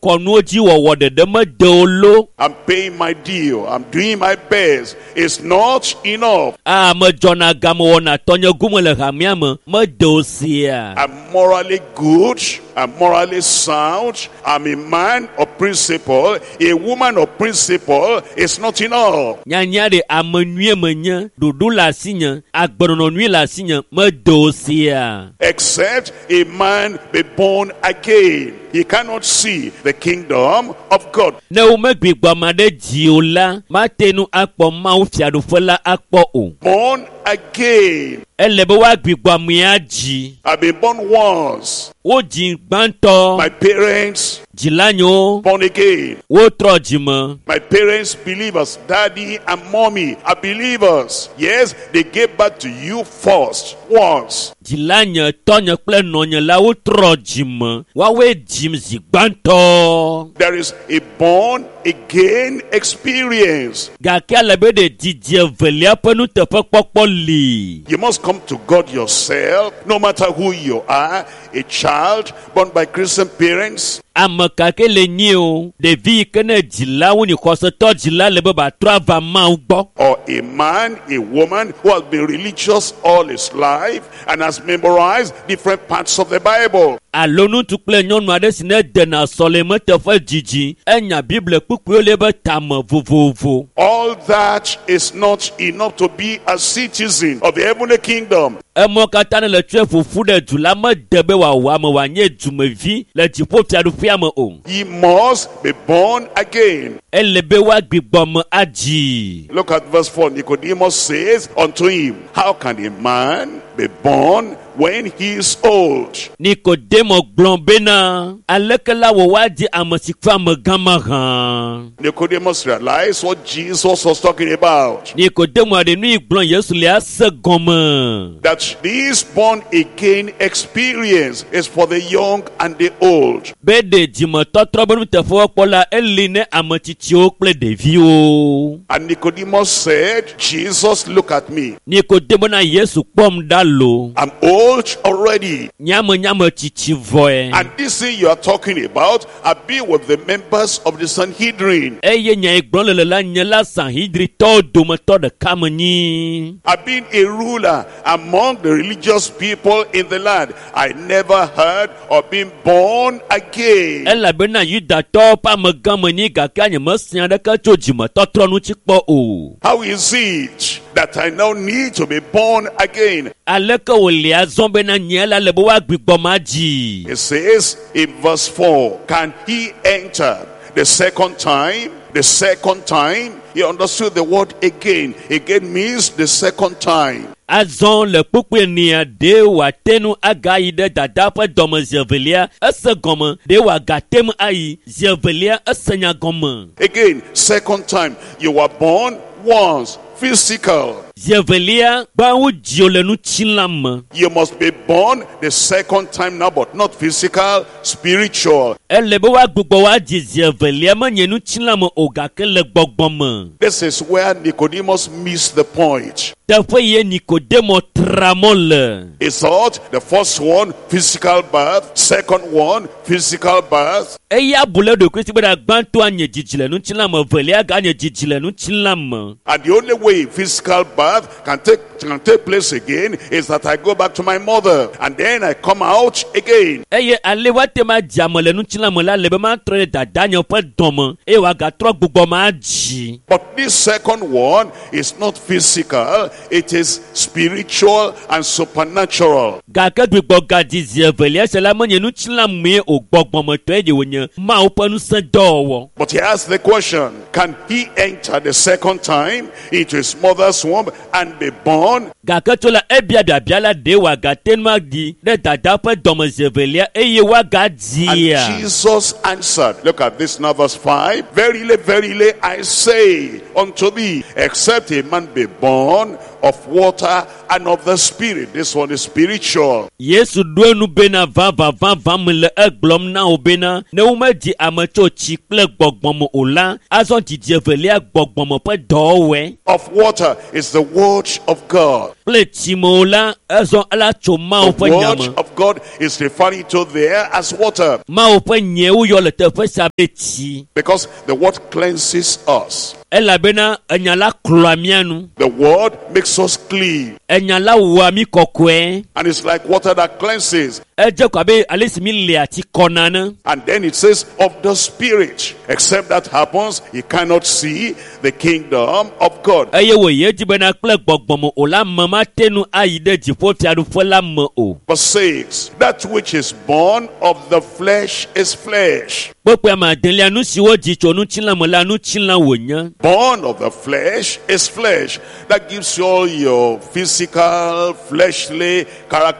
Kɔnuwo dzi wɔwɔ ɖeɖe mede o lo. I'm paying my due. I'm doing my best. It's not enough. A medzɔna game wɔna tɔnye gome le hamea me mede o sia. I'm morally good. I'm morally sound. I'm a man of principle. A woman of principle is not enough. Nyanya ɖe ame nyuie menye, ɖoɖo le asinye, agbenɔnɔ nyui le asinye mede o sia. Except a man be born again, he cannot see the kingdom of God. Ne womegbugbɔ ame aɖe dzi o la, mate ŋu akpɔ Mawu fiaɖuƒe la akpɔ o. Born again. Ele be woagbugbɔ amea dzi. I've been born once. Wodzi gbãtɔ. My parents Dzilanyewo born again. wotrɔ dzime. My parents believers, daddy and mommy are believers. Yes, they gave birth to you first, once. Dzilanye, tɔnye kple nɔnye la wotrɔ dzime. Woawoe dzim zi gbãtɔ. There is a born again experience. Gake ale be ɖe didi evelia ƒe nuteƒekpɔkpɔ li. You must come to God yourself, no matter who you are, a child born by Christian parents, Ame ka ke le nyi o, ɖevi yi ke ne dzilawo nyi xɔsetɔ dzila le be batrɔ ava Mawu gbɔ. or a man, a woman who has been religious all his life and has memorized different parts of the Bible. Alo ŋutsu kple nyɔnu aɖe si ne dena sɔleme teƒe dzidzi, enya Bible kpukpuiwo le eƒe tame vovovo. All that is not enough to be a citizen of the heavenly kingdom. Emɔ katã ne le tsɔe ƒoƒu ɖe du la mede be wòawɔ ame wòanye dumevi le dziƒofiaɖuƒea me o. He must be born again. Ele be woagbugbɔ me adzi. Look at verse 4. Nicodemus says unto him, How can a man be born when he is old? Nikodemo gblɔ bena, aleke la wɔ woadzi ame si ƒe amegã mahã? Nicodemus realized what Jesus was talking about. Nikodemo ɖe nu yi gblɔ Yesu le ase gɔme. That this born again experience is for the young and the old. Be ɖe dzimetɔtrɔ be nuteƒewɔkpɔ la eli ne ame tsitsiwo kple ɖeviwo. And Nicodemus said, Jesus, look at me. Nikodemo na Yesu kpɔm ɖa lo. I'm old already. Nyame nyame tsitsi vɔe. And this thing you are talking about, I've been with the members of the Sanhedrin. Eye nya yi gblɔm le le la nye la Sanhedritɔwo dometɔ ɖeka me nyi. I've been a ruler among the religious people in the land. I never heard of being born again. Elabena Yudatɔwo ƒe amegã me nyi gake nye mese aɖeke tso dzimetɔtrɔ ŋuti kpɔ o. How is it that I now need to be born again? Aleke wòle azɔ bena nye la le be woagbugbɔ ma dzi? It says in verse 4, can he enter the second time? The second time, he understood the word again. Again means the second time. Azɔ le kpukpui enia ɖe wòate ŋu agayi ɖe dada ƒe dɔme zi evelia ese gɔme ɖe wòagate ŋu ayi zi evelia ese nya gɔme. Again, second time, you were born once, physical. Zi evelia gbã wodzi wò le ŋutilã me. You must be born the second time now, but not physical, spiritual. Ele be woagbugbɔ woadzi zi evelia menye ŋutilã me o gake le gbɔgbɔ me. This is where Nicodemus missed the point. Teƒe ye Nikodemo tra mɔ le. He thought the first one, physical birth, second one, physical birth. Eya bu le eɖokui si be ɖe gbãtɔa nye dzidzi le ŋutilã me, evelia ganye dzidzi le ŋutilã me. And the only way physical birth can take place again is that I go back to my mother and then I come out again. Eye ale woate ma dzi ame le ŋutilã me la le be matrɔ ɖe dadanye ƒe dɔme eye wòagatrɔ gbugbɔ ma dzi. But this second one is not physical, it is spiritual and supernatural. Gake gbugbɔ gadzi zi evelia sia la menye ŋutilã mee o, gbɔgbɔmetɔe ɖe wònye Mawu ƒe ŋusẽ dɔwɔwɔ. But he asked the question, can he enter the second time into his mother's womb and be born? Gake tso la ebia biabia la ɖe wòagate ŋu aɖi ɖe dada ƒe dɔme zi evelia eye woagadzia. And Jesus answered, look at this now, verse 5. Verily, verily, I say unto thee, except a man be born of water and of the Spirit. This one is spiritual. Yesu ɖo enu bena vavã vavã me le egblɔm na wo bena ne womedzi ame tso tsi kple gbɔgbɔ me o la, azɔ dzidzi evelia gbɔgbɔme ƒe dɔwɔwɔe. Of water is the word of God. Kple tsi me o la, ezɔ ela tso Mawu The ƒe nya word me. of God is referring to there as water Mawu ƒe nyae woyɔ le teƒe sia be tsi. because the word cleanses us. Elabena enya la klɔa mía nu. The word makes us clean. Enya la wɔa mí kɔkɔe. And it's like water that cleanses. Edze ko abe ale si mi lia tsi kɔna ne. And then it says of the Spirit. Except that happens, you cannot see the kingdom of God. Eye wòyi edzi bena kple gbɔgbɔme o la, ame mate ŋu ayi ɖe dziƒofiaɖuƒe la me o. Verse 6. That which is born of the flesh is flesh. Kpekpe ame adelia, nu si wodzi tso ŋutilã me la, ŋutilã wònye. Born of the flesh is flesh. That gives you all your physical, fleshly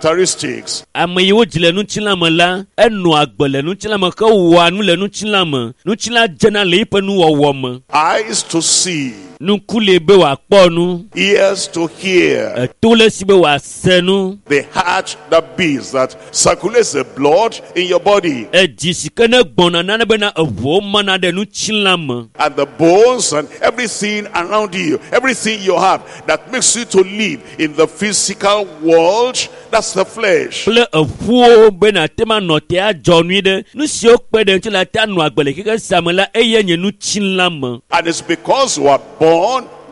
characteristics. Ame yi wodzi le ŋutilã me la, enɔa agbe le ŋutilã me hewɔa nu le ŋutilã me. Ŋutilã dzena le eƒe nuwɔwɔ me. Eyes to see, Nuku li be wòakpɔ nu, ears to hear, eto le esi be wòase nu. the heart that beats, that circulates the blood in your body, Edzi si ke ne gbɔna nane bena eʋuwo mana ɖe ŋutilã me. and the bones and everything around you, everything you have that makes you to live in the physical world, that's the flesh. Kple eƒuwo be nàte ma nɔ te adzɔ nui ɖe nu siwo kpe ɖe ŋuti la te anɔ agbe le xexe sia me la eye nye ŋutilã me. And it's because you are born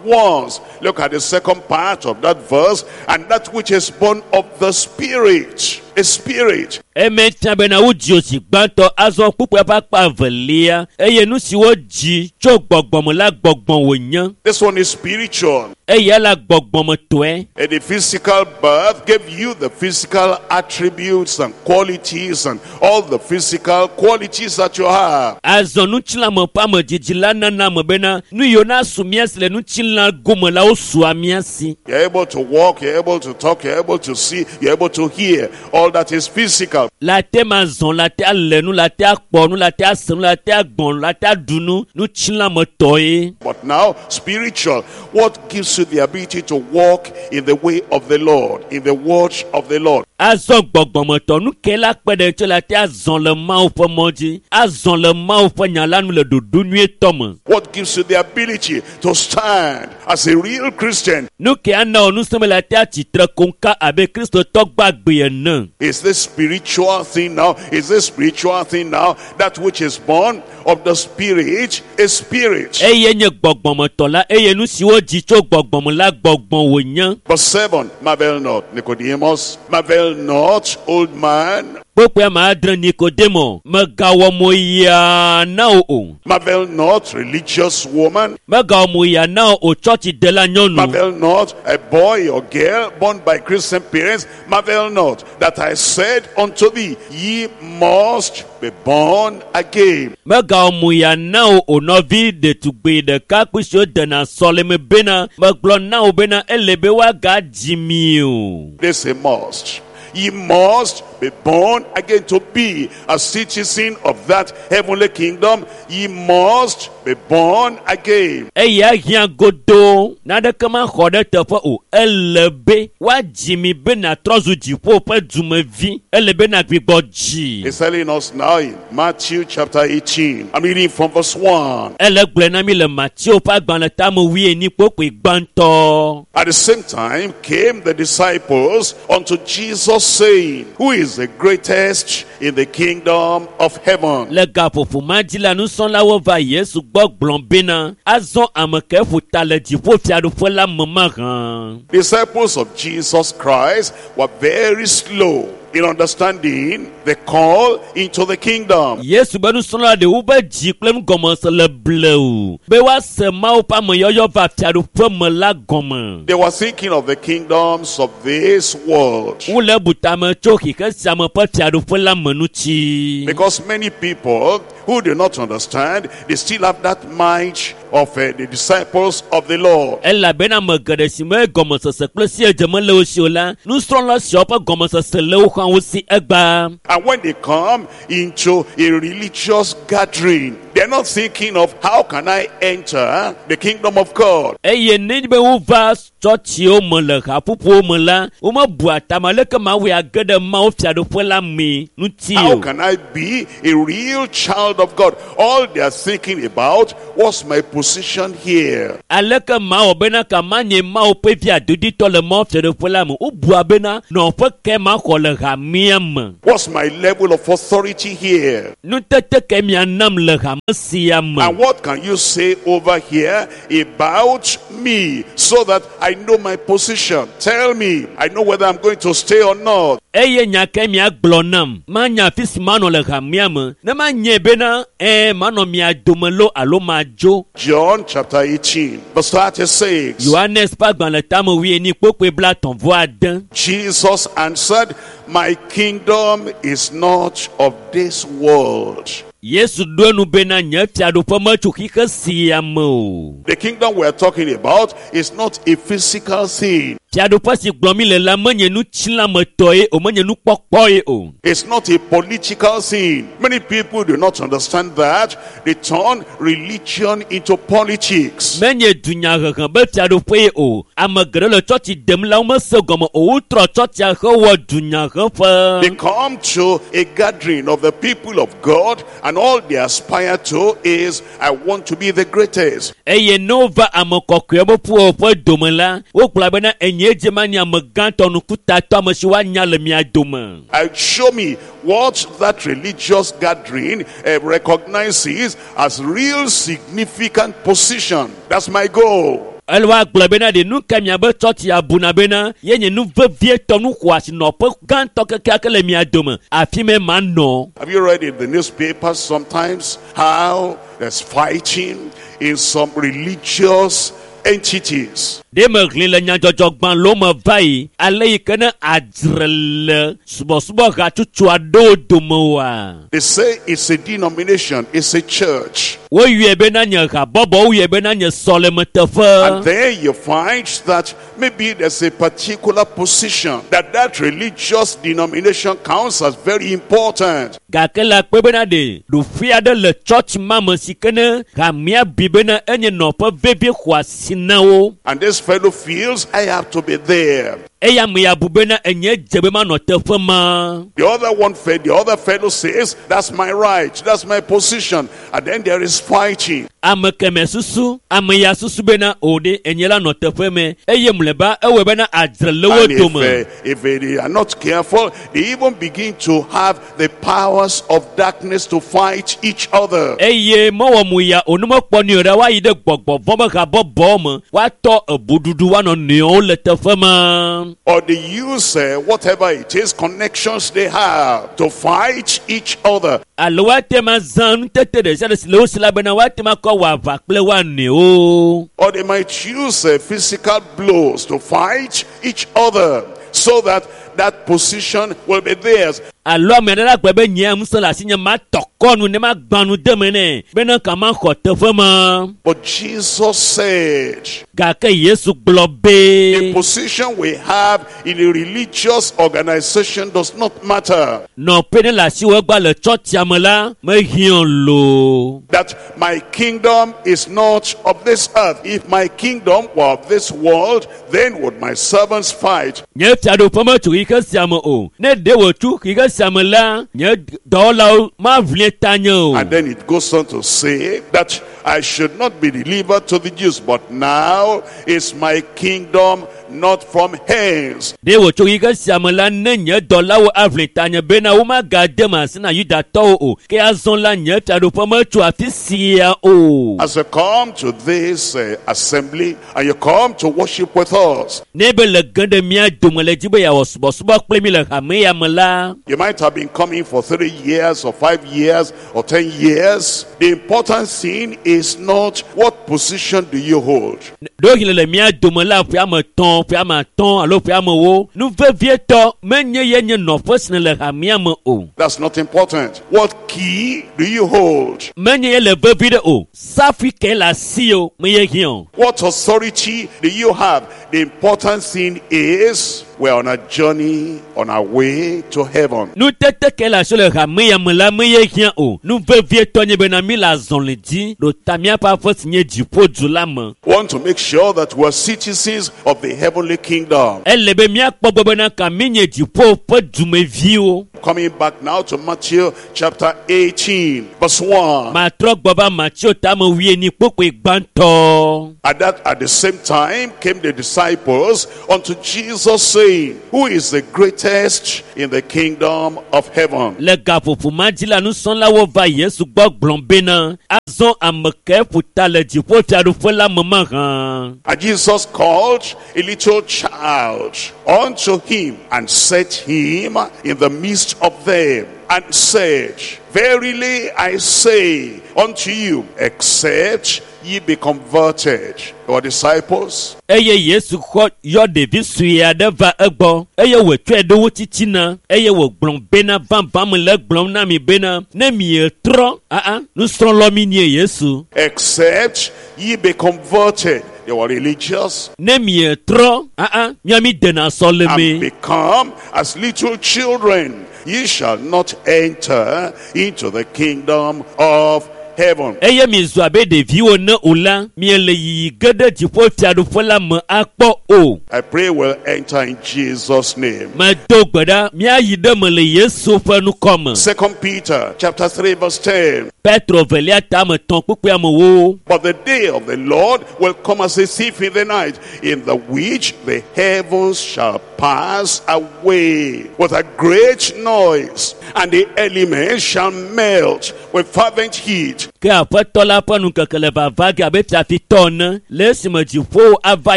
once. Look at the second part of that verse. And that which is born of the Spirit is spirit. Eme fia bena wodzi wò zi gbãtɔ azɔ kpukpua ƒe akpa evelia eye nu si wodzi tso gbɔgbɔme la gbɔgbɔ wònye. This one is spiritual. Eya la gbɔgbɔmetɔe. And the physical birth gave you the physical attributes and qualities and all the physical qualities that you have. Azɔ ŋutilãme ƒe amedzidzi la nana ame bena nu yiwo nasu mía si le ŋutilã gome la wosua mía si. You're able to walk, you're able to talk, you're able to see, you're able to hear. All that is physical. La te ma zɔn, la te alé nu, la te akpɔ nu, la te ase nu, la te agbɔn nu, la te aɖu nu, ŋutilãmetɔe. But now, spiritual. What gives you the ability to walk in the way of the Lord, in the word of the Lord? Azɔ gbɔgbɔmetɔ nu ke la kpe ɖe ŋuti la te azɔn le Mawu ƒe mɔ dzi, azɔn le Mawu ƒe nya la nu le ɖoɖo nyuietɔ me. What gives you the ability to stand as a real Christian? Nu ke ana wò ŋusẽ be la te atsitre koŋka abe Kristotɔ gbagbe ene. Is this spiritual thing now? Is this spiritual thing now? That which is born of the Spirit is spirit. Eye nye gbɔgbɔmetɔ la eye nu si wodzi tso gbɔgbɔme la gbɔgbɔ wònye. Verse 7, marvel not, Nicodemus, marvel not, old man, Kpokpoe ame adre Nikodemo megawɔ mo yaa na wò o. marvel not, religious woman, Megawɔ mo yaa na wò o tsɔtsidela nyɔnu. marvel not, a boy or girl born by Christian parents, marvel not, that I said unto thee, ye must be born again. Megawɔ mo yaa na wò o nɔvi ɖetugbi ɖekakpui siwo dena sɔleme bena megblɔ na wò bena ele be woagadzi mi o. This a must. Ye must be born again to be a citizen of that heavenly kingdom. Ye must be born again. Eya hiã godoo naneke maxɔ ɖe teƒe o. Ele be woadzi mi be nàtrɔ zu dziƒo ƒe dumevi. Ele be nàgbugbɔ dzi. He's telling us now in Matthew chapter 18. I'm reading from verse 1. Ele gblɔe na mi le Mateo ƒe agbalẽ tame wuienyi kpokpoe gbãtɔ. At the same time came the disciples unto Jesus, saying, Who is the greatest in the kingdom of heaven? Le gaƒoƒo ma dzi la, nusrɔ̃lawo va Yesu gbɔ gblɔ bena azɔ ame ke ƒo ta le dziƒofiaɖuƒe la me mahã. Disciples of Jesus Christ were very slow in understanding the call into the kingdom. Yesu be nusrɔ̃la ɖewo be dzi kple nugɔmese le blewu be woase Mawu ƒe ameyɔyɔ va fiaɖuƒe me la gɔme. They were thinking of the kingdoms of this world. Wole bu tame tso xexe sia me ƒe fiaɖuƒe la me ŋuti. Because many people who do not understand, they still have that mind of the disciples of the Lord. Elabena ame geɖe si me gɔmesese kple siedze mele wo si o la, nusrɔ̃la siawo ƒe gɔmesese le wo hã wo si egbea. And when they come into a religious gathering, They're not thinking of how can I enter the kingdom of God. Eye ne be wova tsɔtsiwo me le haƒoƒowo me la, womebua tame aleke mawɔe age ɖe Mawu fiaɖuƒe la mee ŋuti How o. can I be a real child of God? All they are thinking about, what's my position here? Aleke mawɔ bena ka manye Mawu ƒe vi adoditɔ le Mawu fiaɖuƒe la me? Wobua bena nɔƒe ke maxɔ le hamea me. What's my level of authority here? Nutete ke mianam le hame sia me. And what can you say over here about me so that I know my position? Tell me. I know whether I'm going to stay or not. Eye nya ke miagblɔ nam, manya afi si manɔ le hamea me. Ne manye bena ɛɛ manɔ mia dome loo alo madzo. John chapter 18, verse 36. Yohanes ƒe agbalẽ tame wuienyi kpokpoe 36. Jesus answered, My kingdom is not of this world. Yesu ɖo enu bena nye fiaɖuƒe metso xixe sia me o. The kingdom we're talking about is not a physical thing. Fiaɖuƒe si gblɔm mi le la menye nutsilametɔ ye o, menye nukpɔkpɔ ye o. It's not a political thing. Many people do not understand that. They turn religion into politics. Menye dunyahehe be fiaɖuƒe ye o. Ame geɖe le tsɔtsi dem la womese gɔme o. Wotrɔ tsɔtsia hewɔ dunyaheƒe. They come to a gathering of the people of God, and all they aspire to is, I want to be the greatest. Eye ne wova ame kɔkɔewo ƒe ƒuƒoƒe dome la, wogblɔ bena enye dze manye ame gãtɔ nukutatɔ ame si woanya le mia dome. And show me what that religious gathering recognizes as real significant position. That's my goal. Ele woagblɔ bena ɖe nu ka miabe tsɔtsi abuna bena ye nye nu vevietɔ nu xɔasi nɔƒe gãtɔ kekeake le mia dome. Afi me manɔ. Have you read in the newspapers sometimes how there's fighting in some religious entities? Ɖe mehlẽ le nyadzɔdzɔgbalẽwo me va yi ale yi ke ne adzre le subɔsubɔ hatsotso aɖewo dome oa? They say it's a denomination, it's a church. Woyɔe bena nye habɔbɔ, woyɔe bena nye And sɔlemeteƒe. there you find that maybe there's a particular position that religious denomination counts as very important. Gake le akpe bena ɖe ɖoƒe aɖe le tsɔtsi ma me si ke ne hamea bui bena enye nɔƒe vevie xɔasi na wo. And this fellow feels, I have to be there. Eye ame ya bu bena enye dze be manɔ teƒe ma. The other one, the other fellow says, that's my right, that's my position. And then there is fighting. Ame keme susu, ame ya susu bena o ɖe enye la nɔ teƒe me. Eye mlɔeba ewɔe bena adzre le wo And dome. if they are not careful, they even begin to have the powers of darkness to fight each other. Eye mewɔ mu ya o ne mekpɔ nui o ɖa woayi ɖe gbɔgbɔ vɔ̃ be habɔbɔ me. Woatɔ ebuɖuɖu woanɔ nɔewo le teƒe ma. Or they use whatever it is, connections they have to fight each other. Alo woate ma zã nutete ɖe sia ɖe si le wo si la bena woate ma kɔ wɔ aʋa kple woa nɔewo. Or they might use physical blows to fight each other so that that position will be theirs. Alo ame aɖe la gblɔ be nye ŋusẽ le asinye matɔ kɔ nu ne magbã nu de me nɛ bena ka maxɔ teƒe ma. But Jesus said, Gake Yesu gblɔ the be position we have in a religious organization does not matter. nɔƒe ne le asiwò egba le tsɔtsia me la mehiã loo. That my kingdom is not of this earth. If my kingdom were of this world, then would my servants fight. Nye fiaɖuƒe metso xixe sia me o. Ne ɖe wòtso xixe sia me la, nye dɔwɔlawo maʋli tanye o. And then it goes on to say that I should not be delivered to the Jews, but now is my kingdom not from hence. Ɖe wòtso xixe sia me la, ne nye dɔlawo aʋli tanye bena womagade me asi na Yudatɔwo o. Ke azɔ la, nye fiaɖuƒe metso afi sia o. As you come to this assembly and you come to worship with us, Ne be le ge ɖe mía dome le dzi be yeawɔ subɔsubɔ kple mi le hame ya me la, you might have been coming for 3 years or 5 years or 10 years. The important thing is not what position do you hold. Ɖewohĩ le mía dome la ƒe ame etɔ̃, ƒe ame atɔ̃ alo ƒe ame ewo. Nu vevietɔ menye ye nye nɔƒe si le hamea me o. That's not important. What key do you hold? Menye ye le vevi ɖe o. Safui ke le asi o, me ye hiã o. What authority do you have? The important thing is We're on a journey on our way to heaven. Nutete ke le asi le hame ya me la me ye hiã o. Nu vevietɔ nye bena mi le azɔli dzi ɖo ta míaƒe aƒe si nye dziƒodu la me. Want to make sure that we're citizens of the heavenly kingdom. Ele be míakpɔ gbɔ bena ka mi nye dziƒo ƒe dumeviwo. Coming back now to Matthew chapter 18, verse 1. Matrɔ gbɔ va Mateo tame wuienyi kpokpoe gbãtɔ. At that at the same time came the disciples unto Jesus, saying, Who is the greatest in the kingdom of heaven? Le gaƒoƒo ma dzi la nusrɔ̃lawo va Yesu gbɔ gblɔ bena azɔ ame ke ƒo ta le dziƒo fiaɖuƒe la me mahã. And Jesus called a little child unto him and set him in the midst of them and said, Verily I say unto you, except ye be converted. Our disciples, Eye Yesu xɔ yɔ ɖevi sue aɖe va egbɔ eye wòtsɔe ɖo wo titina eye wògblɔ bena vavã me le egblɔm na mi bena ne mietrɔ aa nusrɔ̃lɔ mi nye Yesu. except ye be converted. They were religious Ne mietrɔ aa mía mi dena and sɔleme. become as little children, ye shall not enter into the kingdom of heaven. Eye mizu abe ɖeviwo ne o la, miele yiyi ge ɖe dziƒo fiaɖuƒe la me akpɔ o. I pray we'll enter in Jesus' name. Medo gbe ɖa míayi ɖe me le Yesu ƒe ŋkɔ me. Second Peter chapter 3 verse 10. Petro velia tame tɔ̃ kpukpui amewo. But the day of the Lord will come as a thief in the night, in the which the heavens shall pass away with a great noise, and the elements shall melt with fervent heat. Ke aƒetɔ la ƒe ŋkeke le vava ge abe fiafitɔ ene le esime dziƒowo ava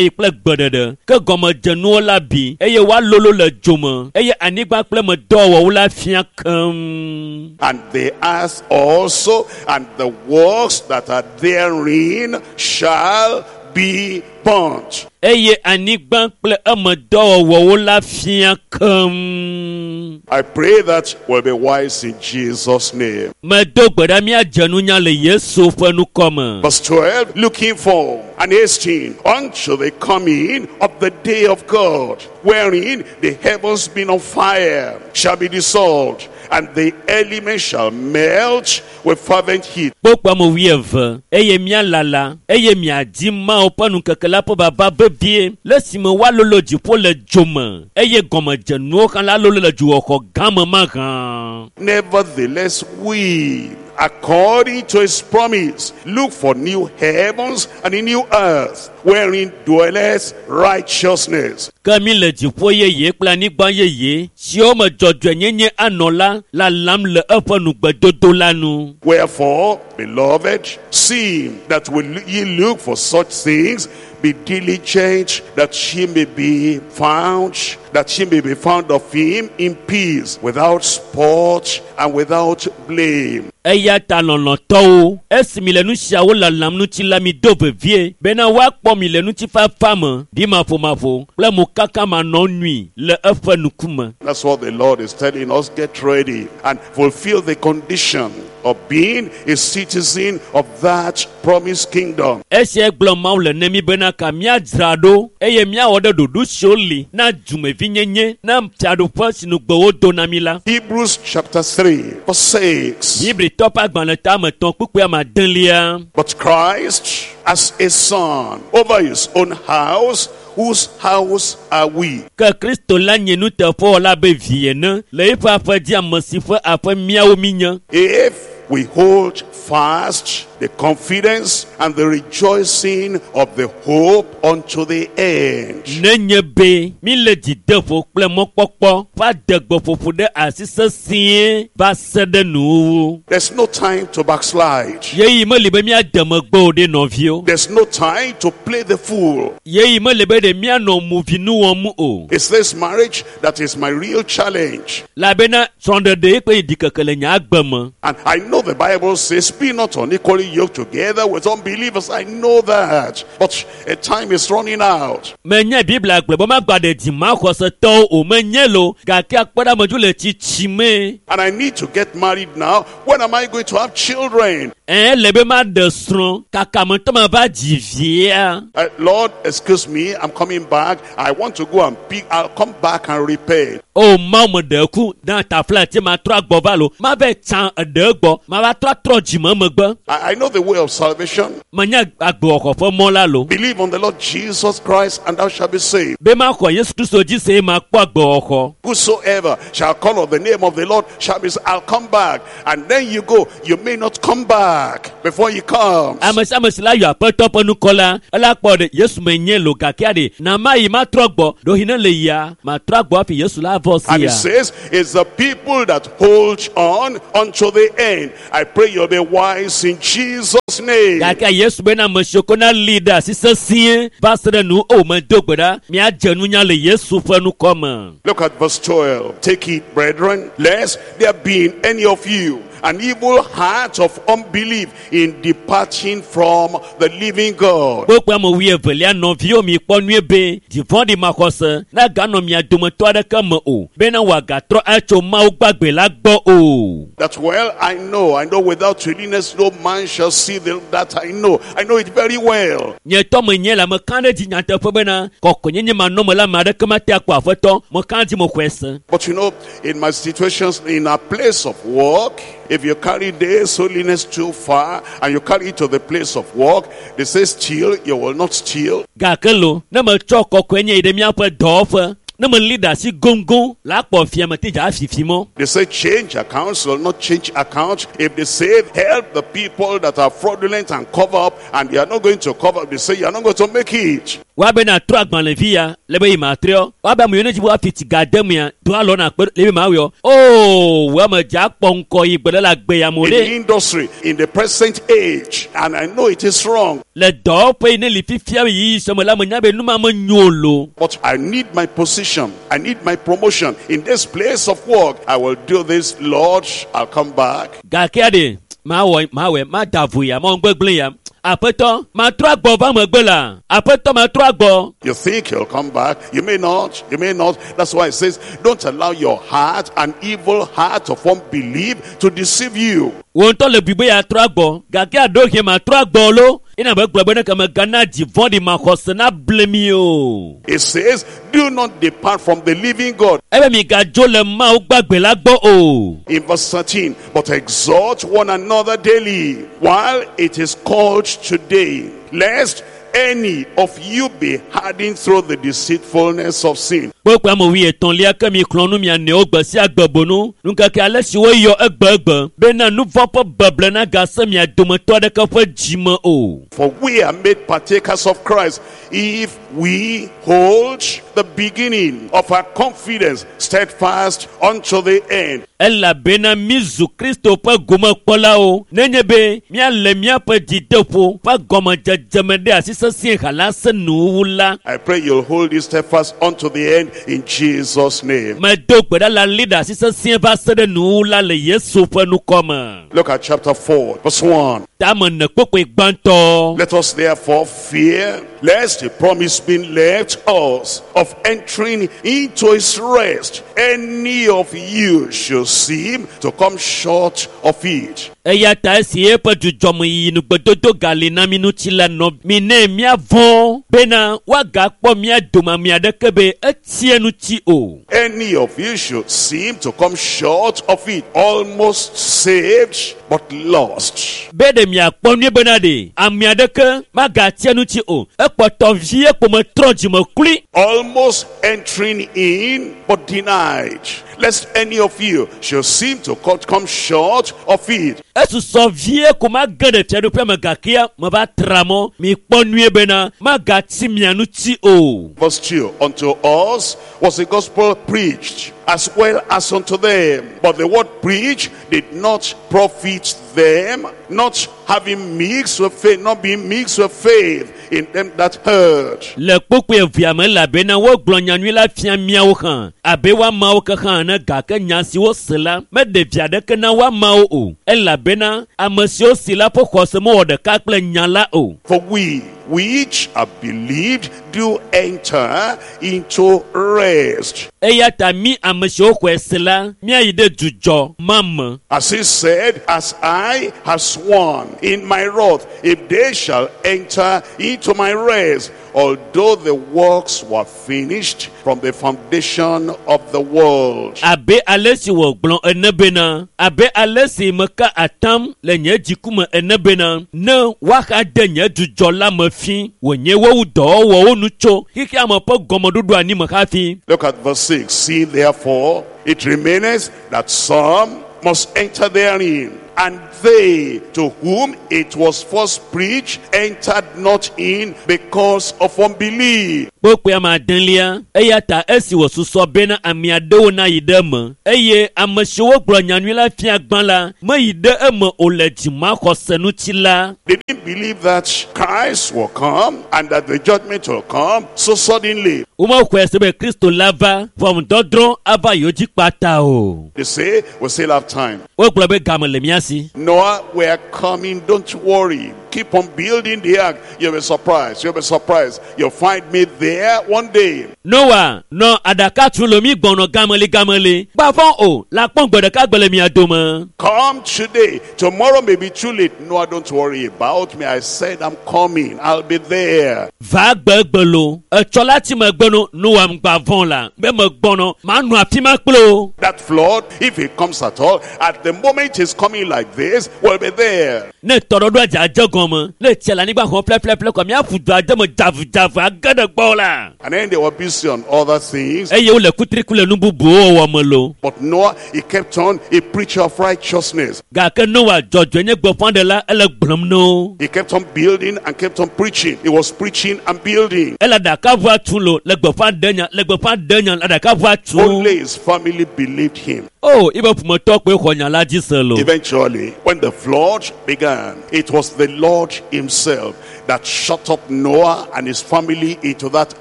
yi kple gbeɖeɖe. Ke gɔmedzenuwo la bi eye woalolo le dzo me eye anyigba kple me dɔwɔwɔwo la fia keŋ. And the earth also and the works that are therein shall be burnt. Eye anyigba kple eme dɔwɔwɔwo la fia keŋ. I pray that we'll be wise in Jesus' name. Medo gbe ɖa míadze nunya le Yesu ƒe ŋkɔ me. Verse 12, looking for and hasting unto the coming of the day of God, wherein the heavens being on fire shall be dissolved, and the elements shall melt with fervent heat. Kpokpo ame wuieve eye míalala eye miadi Mawu ƒe ŋkeke la ƒe vava vevie le esime woalolo dziƒo le dzo me eye gɔmedzenuwo hã la lolo le dzoxɔxɔ gã me mahã. Nevertheless, we, according to his promise, look for new heavens and a new earth, wherein dwelleth righteousness. Ke mi le dziƒo yeye kple anyigba yeye siwo me dzɔdzɔenyenye anɔ la lalam le eƒe nugbedodo la nu. Wherefore, beloved, seeing that will ye look for such things, be diligent that she may be found, that she may be found of him in peace, without spot and without blame. Eya ta lɔlɔ̃tɔwo, esi mi le nu siawo lalam ŋuti la mi do vevie bena woakpɔ mi le ŋutifafa me, ɖimaƒomaƒo kple mokaka manɔnui le eƒe ŋkume. That's what the Lord is telling us. Get ready and fulfill the condition of being a citizen of that promised kingdom. Esia gblɔ Mawu le ne mi bena ka míadzra ɖo eye míawɔ ɖe ɖoɖo siwo li na dumevinyenye na fiaɖuƒe si ŋugbe wodo na mi la. Hebrews chapter 3, verse 6. Hebritɔ ƒe agbalẽ tame tɔ̃ kpukpui ame adelia. But Christ as a son over his own house, whose house are we? Ke Kristo la nye nuteƒewɔla abe vi ene le eƒe aƒe dzi ame si ƒe aƒe míawo míenye. If we hold fast the confidence and the rejoicing of the hope unto the end. Nenye be míle dzideƒo kple mɔkpɔkpɔ ƒe adegbeƒoƒo ɖe asi sesĩe va se ɖe nuwuwu. There's no time to backslide. Yeyi meli be míade megbe o ɖe nɔviwo. There's no time to play the fool. Yeyi meli be ɖe míanɔ movinu wɔm o. It's this marriage that is my real challenge. Elabena srɔ̃ɖeɖe kple ɖikeke le nye agbe me. And I know know the Bible says, be not unequally yoked together with unbelievers. I know that. But a time is running out. Menye Biblia gblɔ be magba ɖe dzimaxɔsetɔwo o, menye lo, gake akpɔ ɖe amedzo le tsitsime. And I need to get married now. When am I going to have children? Ele be maɖe srɔ̃ kaka me ŋutɔ mava dzi via. Lord, excuse me, I'm coming back. I want to go and pick. I'll come back and repay. O Mawu me ɖe ku na tafla ti matrɔ agbɔ va lo, mava tsã eɖe gbɔ, mava trɔ atrɔ dzime megbe. I know the way of salvation. Menye agbewɔxɔ ƒe mɔ la lo. Believe on the Lord Jesus Christ and thou shalt be saved. Be maxɔ Yesu Kristo dzi se makpɔ agbewɔxɔ. Whosoever shall call on the name of the Lord shall be saved. I'll come back. And then you go. You may not come back before he comes. Ame sia ame si la yɔ aƒetɔ ƒe nukɔ la, ela kpɔ ɖe Yesu menye lo gake aɖe na ma yi matrɔ gbɔ ɖohi ne le yia matrɔ agbɔ hafi Yesu la vɔ And sia. it says, it's the people that hold on unto the end. I pray you'll be wise in Jesus' name. Gake Yesu bena ame siwo ko na li ɖe asi sesĩe va se ɖe nu o medo gbe ɖa miadze nunya le Yesu ƒe nukɔ me. Look at verse 12. Take it, brethren, lest there be in any of you an evil heart of unbelief in departing from the living God. Kpokpo ame wuievelia nɔviwo mi kpɔ nyuie be dzivɔ̃ɖi maxɔse naganɔ mia dometɔ aɖeke me o bena wòagatrɔ atso Mawu gbagbe la gbɔ o. That well, I know without holiness no man shall see the, that I know. I know it very well. Nye tɔ menye le meka ɖe dzi nyateƒe bena kɔkɔenyenye manɔme la ame aɖeke mate akpɔ aƒetɔ meka dzi mexɔe se. But you know, in my situations, in a place of work, if you carry this holiness too far and you carry it to the place of work, they say steal, you will not steal. Gake lo, ne metsɔ kɔkɔenye yi ɖe míaƒe dɔwɔƒe, ne meli ɖe asi goŋgoŋ la akpɔ fiame te dza afifi mɔ. They say change accounts, will not change accounts. If they say help the people that are fraudulent and cover up, and they are not going to cover up, they say you are not going to make it. Woabe na trɔ agbalẽvi ya le be yi matrɔ. Woabe ame yiwo ne dzi be woafi tsi ga de mea, do alɔ na kpe le be mawɔ. Oo, wo ame dza akpɔ ŋkɔ yi gbe ɖe le agbe ya me In ɖe. the industry, in the present age, and I know it is wrong, Le dɔwɔƒe yi ne li fifia yi sɔme la menya be nu ma menyo lo. but I need my position. I need my promotion. In this place of work, I will do this, Lord. I'll come back. Gake aɖe mawɔ mawɔe mada vo ya mawɔ gbegblẽ ya. Aƒetɔ matrɔ agbɔ va megbe la. Aƒetɔ matrɔ agbɔ. You think you'll come back. You may not. You may not. That's why it says, don't allow your heart, an evil heart of unbelief, to deceive you. Wo ŋutɔ le bui be yeatrɔ agbɔ gake aɖo hɛn matrɔ agbɔ lo. Ena be gblɔ be ne ke megana dzi vɔ̃ɖi maxɔse na ble mi o. It says, do not depart from the living God. Ebe migadzo le Mawu gbagbe la gbɔ o. In verse 13, but exhort one another daily, while it is called today, lest any of you be hardened through the deceitfulness of sin. Kpokpo ame wuietɔ̃lia ke mi xlɔ̃ nu mia nɔewo gbe sia gbe bonu. Nukeke ale si woyɔ egbegbe bena nu vɔ̃ ƒe beble nagase mia dometɔ aɖeke ƒe dzime o. For we are made partakers of Christ if we hold the beginning of our confidence steadfast unto the end. Elabena mi zu Kristo ƒe gomekpɔlawo nenye be míale míaƒe dzideƒo ƒe gɔmedzedzeme ɖe asi sesĩe hala se nuwuwu la. I pray you'll hold it steadfast unto the end in Jesus' name. Medo gbe ɖa la li ɖe asi sesĩe va se ɖe nuwuwu la le Yesu ƒe nukɔ me. Look at chapter 4, verse 1. Tame ne kpokpoe gbãtɔ. Let us therefore fear, lest the promise being left us of entering into his rest, any of you should seem to come short of it. Eya ta esi eƒe dzudzɔmeyiyi nugbedodo gali na mi ŋuti la nɔ mi ne míavɔ̃ bena woagakpɔ mía dome ame aɖeke be etie ŋuti o. Any of you should seem to come short of it, almost saved, but lost. Be ɖe miakpɔ nyuie bena ɖe ame aɖeke magatie ŋuti o. Ekpɔtɔ vie kpo metrɔ dzime klui. Almost entering in, but denied. Lest any of you should seem to come short of it. Esusɔ vie ko mage ɖe fiaɖuƒea me gakea meva tra mɔ. Mikpɔ nyuie bena magatsi mia ŋuti o. Verse 2, unto us was the gospel preached, as well as unto them. But the word preached did not profit them, not having mixed with faith, not being mixed with faith in them that heard. Le kpukpui evea me elabena wogblɔ nyanyui la fia míawo hã abe woamawo ke hã ene gake nya si wose la meɖe vi aɖeke na woamawo o elabena ame siwo si la ƒe xɔse mewɔ ɖeka kple nya la o. For we which have believed do enter into rest. Eya ta mí ame siwo xɔe se la míayi ɖe dzudzɔ ma me. As he said, as I have sworn in my wrath, if they shall enter into my rest, although the works were finished from the foundation of the world. Abe ale si wògblɔ ene bena, abe ale si meka atam le nye dziku me ene bena, ne woaxa de nye dzudzɔ la me fi, wònye wowu dɔwɔwɔwo nu tso xexea me ƒe gɔmeɖoɖo anyi me hafi. Look at verse 6. See therefore, it remaineth that some must enter therein, and they to whom it was first preached entered not in because of unbelief. Kpukpui ame adelia, eya ta esi wòsusɔ bena ame aɖewo nayi ɖe eme, eye ame siwo gblɔ nyanyui la fia gbã la meyi ɖe eme o le dzimaxɔse ŋuti la. They didn't believe that Christ will come and that the judgment will come so suddenly. Womexɔe se be Kristo la va ʋɔnudɔdrɔ̃ ava yewo dzi kpata o. They say, we still have time. Wogblɔ be game le mía si. Noah, we are coming, don't worry. Keep on building the ark. You'll be surprised. You'll be surprised. You'll find me there one day. Noa nɔ aɖaka tu le mi gbɔnɔ gameli gameli. Gbavɔ o, la kpɔn gbe ɖeka gbe le mia dome. Come today. Tomorrow may be too late. Noah, don't worry about me. I said I'm coming. I'll be there. Va gbegbe lo, etsɔ la ti megbe no, Noa ŋgbavɔ la, be megbɔnɔ, manɔ afi ma kple o. That flood, if it comes at all, at the moment it's coming like this, we'll be there. Ne tɔɖɔɖoa dze adze gɔme, ne tsia le anyigba xɔm ƒleƒleƒle kɔ míaƒu du ade me dzavudzavu age ɖe gbɔ la. And then they were busy on other things. Eye wole kutriku le nu bubuwo wɔwɔ me lo. But Noah, he kept on a preacher of righteousness. Gake Noa dzɔdzɔe nye gbeƒãɖela ele gblɔm na wo. He kept on building and kept on preaching. He was preaching and building. Ele aɖakaʋua tu lo, le gbeƒã ɖe nya, le gbeƒã ɖe nya, le aɖakaʋua tu. Only his family believed him. O, yibe ƒometɔ koe xɔ nya la dzi se lo. Eventually, when the flood began, it was the Lord himself that shut up Noah and his family into that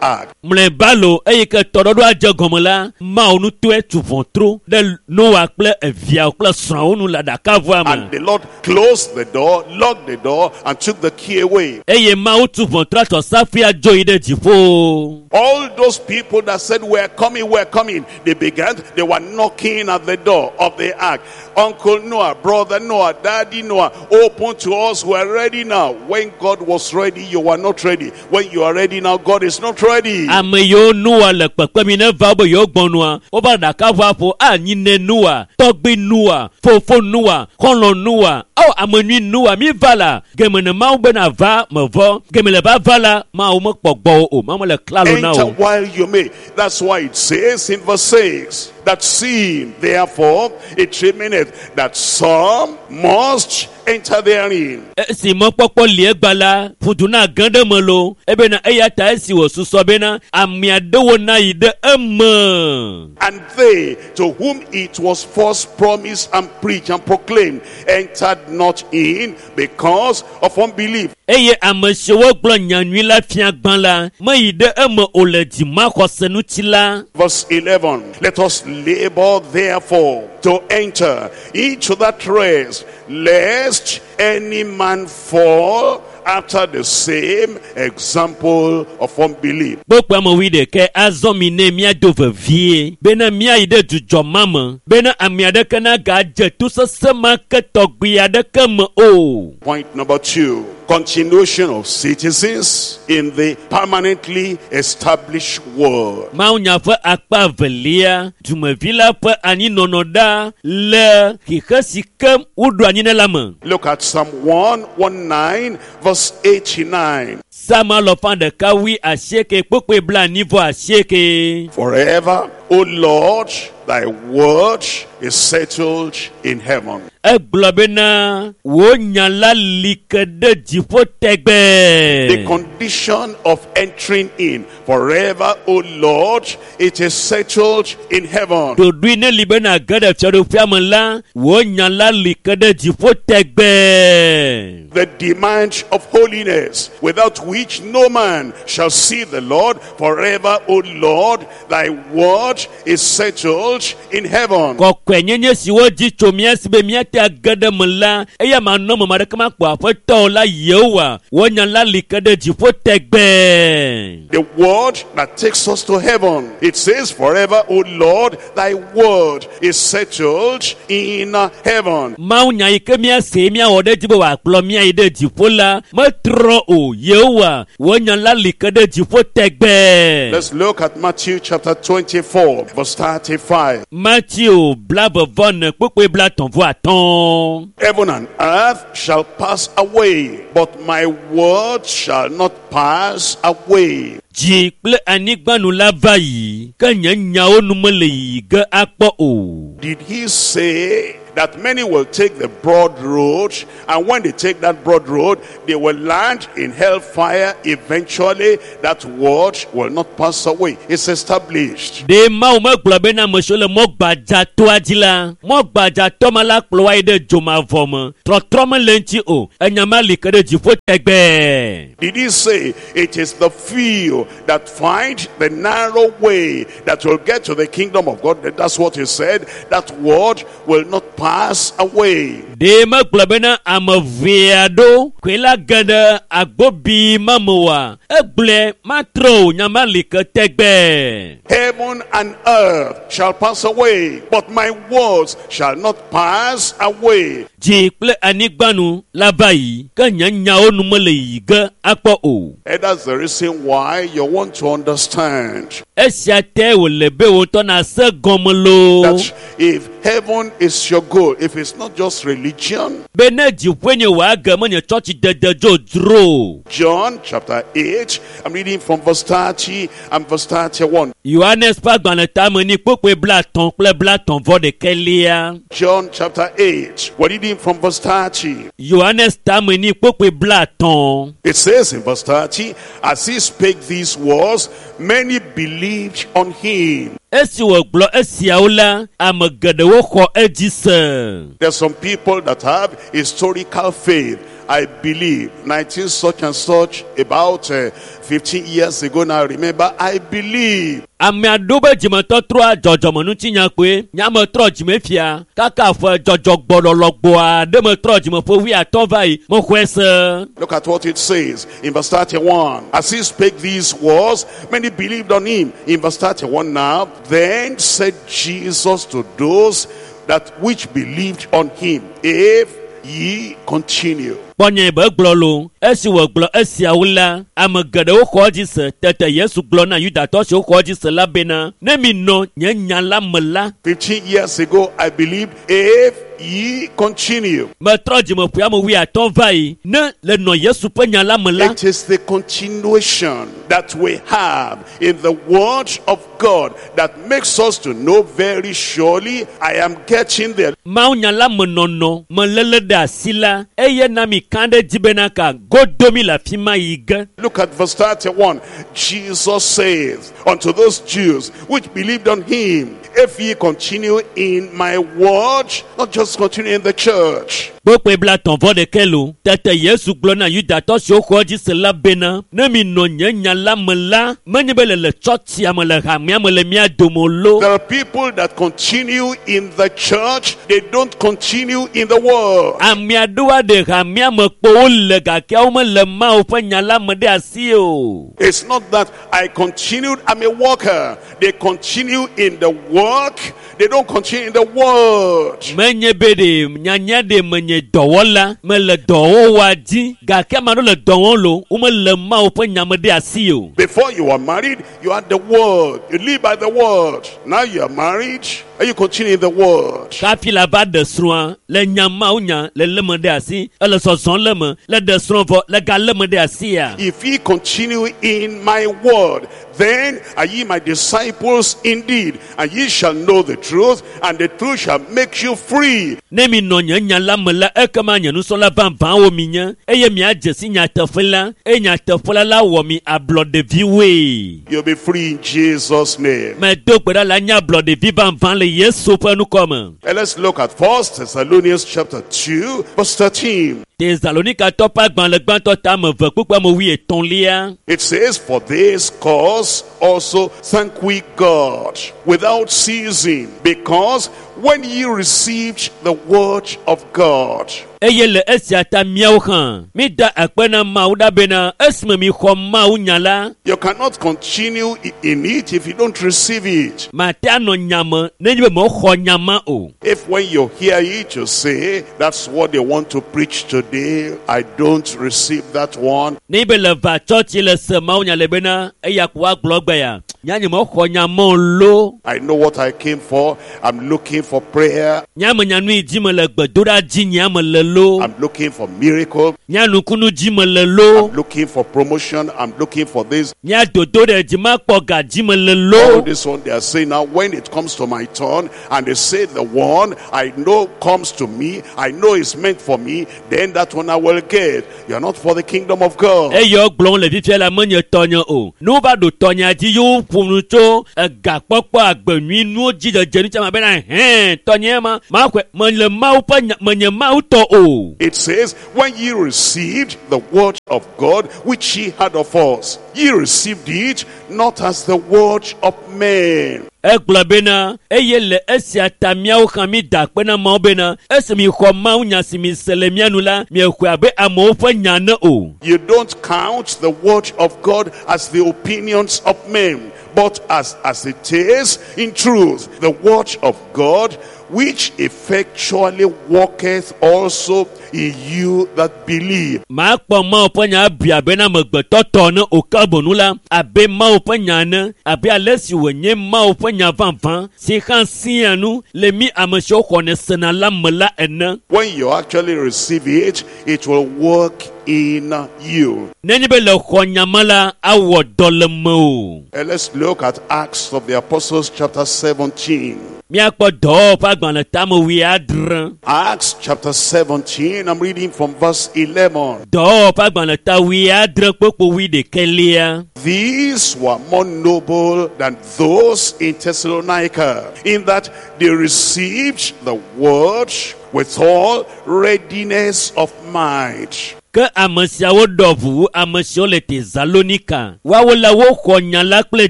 ark. Mlɔeba lo, eyi ke tɔɖɔɖoa dze gɔme la, Mawu ŋutɔe tu ʋɔtru ɖe Noa kple eviawo kple srɔ̃awo nu le aɖakaʋua me. And the Lord closed the door, locked the door, and took the key away. Eye Mawu tu ʋɔtrua tsɔ safia dzo yi ɖe dziƒo. All those people that said, we're coming, we're coming, they began, they were knocking at the door of the ark. Uncle Noah, brother Noah, Daddy Noah, open to us, we're ready now. When God was ready, you were not ready. When you are ready now, God is not ready. Ame yiwo Noa le kpekpem yi ne va wo be yewo gbɔnua, wova aɖakaʋua ƒo anyi ne Noa, tɔgbui Noa, fofo Noa, xɔlɔ̃ Noa, ao ame nyui Noa, mi va la, geme ne Mawu bena va mevɔ, geme le va va la, Mawu mekpɔ gbɔwò o, Mawu mele klalo na Enter wo. while you may. That's why it says in verse 6 that seeing, therefore, it remaineth that some must enter therein. Esi mɔkpɔkpɔ li egba la, ƒudu na ge ɖe eme lo, ebena eya ta esi wòsusɔ bena ame aɖewo nayi ɖe eme. And they to whom it was first promised and preached and proclaimed entered not in because of unbelief. Eye ame siwo gblɔ nyanyui la fia gbã la, meyi ɖe eme o le dzimaxɔse ŋuti la. Verse 11, let us labor therefore to enter into that rest, lest any man fall after the same example of unbelief. Kpokpo ame wuiɖekɛ azɔ mi ne míado vevie bena míayi ɖe dzudzɔ ma me bena ame aɖeke nagadze to sesẽ ma ke tɔgbi aɖeke me o. Point number 2, continuation of citizens in the permanently established world. Mawunya ƒe akpa evelia, dumevi la ƒe anyinɔnɔ ɖa le xixe si ke woɖo anyi ne la me. Look at Psalm 119, verse 89. Psalm alɔfa ɖeka wui asieke kpukpui blaenyi vɔ asieke. Forever, O Lord, thy word is settled in heaven. Egblɔ bena wò nya la li ke ɖe dziƒo The tɛgbɛ. condition of entering in. Forever, O Lord, it is settled in heaven. Ɖoɖoe ne li bena ge ɖe fiaɖuƒea me la, wò nya la li ke ɖe dziƒo tɛgbɛ. The demand of holiness, without which no man shall see the Lord. Forever, O Lord, thy word is settled in heaven. Kɔkɔenyenye si wodzi tso mía si be míate age ɖe me la, eya manɔ me ame aɖeke makpɔ aƒetɔ o la Yehowa. Wò nya la li ke ɖe dziƒo tɛgbɛ. The word that takes us to heaven. It says, forever, O Lord, thy word is settled in heaven. Mawu nya yi ke míase míawɔ ɖe edzi be wòakplɔ mía yi ɖe dziƒo la, metrɔ o. Yehowa, wò nya la li ke ɖe dziƒo tɛgbɛ. Let's look at Matthew chapter 24, verse 35. Mateo blaeve-vɔ-ene kpukpui blaetɔ̃ vɔ atɔ̃. Heaven and earth shall pass away, but my word shall not pass away. Dzi kple anyigba nu la va yi, ke nye nyawo nu mele yiyi ge akpɔ o. Did he say that many will take the broad road, and when they take that broad road, they will land in hellfire eventually? That word will not pass away. It's established. Ɖe Mawu megblɔ bena ame siwo le mɔ gbadzatoa dzi la, mɔ gbadzatɔ ma la kplɔ wa yi ɖe dzomavɔ me. Trɔtrɔ mele eŋuti o. Enya ma li ke ɖe dziƒo tɛgbɛ. Did he say it is the few that find the narrow way that will get to the kingdom of God? That's what he said. That word will not pass away. Ɖe megblɔ bena ame ʋee aɖewo koe la ge ɖe agbobi ma me oa? Egblɔe matrɔ o, nya ma li ke tɛgbɛ. Heaven and earth shall pass away, but my words shall not pass away. Dzi kple anyigba nu la va yi, ke nye nyawo nu mele yiyi ge akpɔ o. And that's the reason why you want to understand Esia tae wòle be wò ŋutɔ nàse gɔme loo. that if heaven is your goal, if it's not just religion, Be ne dziƒoe nye wò age menye tsɔtsi dede dzodzro o. John chapter 8, I'm reading from verse 30 and verse 31. Yohanes ƒe agbalẽ tame ni kpukpui blaetɔ̃ kple blaetɔ̃ vɔ ɖekɛlia. John chapter 8, we're reading from verse 30. Yohanes tame ni kpukpui blaetɔ̃. It says in verse 30, as he spake these words, many believed on him. Esi wògblɔ esiawo la, ame geɖewo xɔ edzi se. There's some people that have historical faith. I believe 19 such and such about 15 years ago now. Remember, I believe. Ame aɖewo be dzimetɔtrɔa dzɔdzɔmenutinya kpoe. Nya me trɔ dzime fia kaka ƒe dzɔdzɔgbɔlɔlɔgbɔa ɖe metrɔ dzime ƒe wuiatɔ̃ va yi mexɔe se. Look at what it says in verse 31. As he spake these words, many believed on him. In verse 31 now, then said Jesus to those that which believed on him, if ye continue. Kpɔ nye be gblɔ lo. Esi wògblɔ esiawo la, ame geɖewo xɔ edzi se. Tete Yesu gblɔ na Yudatɔ siwo xɔ edzi se la bena, ne mi nɔ nye nya la me la, 15 years ago, I believed, if ye continue. Metrɔ dzime ƒe ame wuiatɔ̃ va yi. Ne le nɔ Yesu ƒe nya la me la, It is the continuation that we have in the word of God that makes us to know very surely I am getting there. Mawu nya la me nɔnɔ meléle ɖe asi la, eye na mi ka ɖe dzi bena ka godo mi le afi ma yi ge. Look at verse 31. Jesus says unto those Jews which believed on him, if ye continue in my word, not just continue in the church. Kpukpui blaetɔ̃ vɔ ɖekɛ lo. Tete Yesu gblɔ na Yudatɔ siwo xɔ edzi se la bena, ne mi nɔ nye nya la me la, menye be le le tsɔtsia me le hamea me le mía dome o lo. There are people that continue in the church, they don't continue in the world. Ame aɖewo aɖe hamea me kpo wole gake womele Mawu ƒe nya la me ɖe asi o. It's not that I continued, I'm a worker. They continue in the work, they don't continue in the world. Menye be ɖe nyanya ɖe menye dɔwɔla, mele dɔwɔwɔa dzi gake ame aɖewo le dɔ wɔm lo, womele Mawu ƒe nya me ɖe asi o. Before you were married, you had the word. You live by the word. Now you are married. Are you continuing in the word? Kafi la va ɖe srɔ̃a le nya mawo nya le lé me ɖe asi ele zɔzɔm le me le ɖe srɔ̃ vɔ le ga lé me ɖe asia. If ye continue in my word, then are ye my disciples indeed, and ye shall know the truth, and the truth shall make you free. Ne mi nɔ nye nya la me la ekema nye nusrɔ̃la vavãwo mi nye eye miadze si nyateƒe la eye nyateƒe la la wɔ mi ablɔɖeviwoe. You'll be free in Jesus' name. Medo gbe ɖa la nye ablɔɖevi vavã le Yesu ƒe ŋkɔ me. And let's look at 1 Thessalonians chapter 2, verse 13. Tesalonikatɔ ƒe agbalẽ gbãtɔ ta ame eve kpukpui ame wuietɔ̃lia. It says, For this cause also thank we God without ceasing, because when ye received the word of God, Eye le esia ta míawo hã mída akpe na Mawu ɖa bena esime mixɔ Mawu nya la, you cannot continue in it if you don't receive it. mate anɔ nya me nenye be mexɔ nya ma o. If when you hear it, you say, That's what they want to preach today, I don't receive that one. Nenye be le va tsɔtsi le se Mawu nya le bena eya ko woagblɔ gbe ya, nya nye mexɔ nya ma o lo. I know what I came for. I'm looking for prayer. Nya me nya nu yi dzi me le gbedoɖa dzi nyea me le lo. I'm looking for miracle. Nya nukunu dzi me le lo. I'm looking for promotion. I'm looking for this. Nya dodo ɖe dzi makpɔ ga dzi me le All lo. this one they are saying now, when it comes to my turn, and they say the one I know comes to me, I know is meant for me, then that one I will get. You are not for the kingdom of God. Eye wogblɔm le fifia la menye tɔnye o. Ne wova ɖo tɔnyea dzi ye woƒo nu tso egakpɔkpɔ agbe nyui nuwo dzi dzedze nu tsɛ ma bena hɛn tɔnye ma maxɔe mele Mawu ƒe nya menye Mawu tɔ o. It says, when ye received the word of God, which ye had of us, ye received it not as the word of men, Egblɔ bena eye le esia ta míawo hã mída akpe na Mawu bena esi mixɔ Mawu nya si mise le mía nu la miexɔe abe amewo ƒe nya ne o. You don't count the word of God as the opinions of men, but as it is in truth, the word of God, which effectually worketh also in you that believe. Makpɔ Mawu ƒe nya abui abe na amegbetɔ tɔ ne o ke bonu la abe Mawu ƒe nya ene abe ale si wònye Mawu ƒe nya vavã si hã sia nu le mí ame siwo xɔnɛ sena la me la ene. When you actually receive it, it will work in you. Nenye be le xɔ nya ma la awɔ dɔ le mewò. And let's look at Acts of the Apostles chapter 17. Míakpɔ dɔwɔwɔ ƒe agbalẽ tame wuiadre. Acts chapter 17, I'm reading from verse 11. Dɔwɔwɔ ƒe agbalẽ ta wuiadre kpokpo wuiɖekɛlia. These were more noble than those in Thessalonica, in that they received the word with all readiness of mind. Ke ame siawo ɖɔ ʋu wu ame siwo le Tesalonika. Woawo la woxɔ nya la kple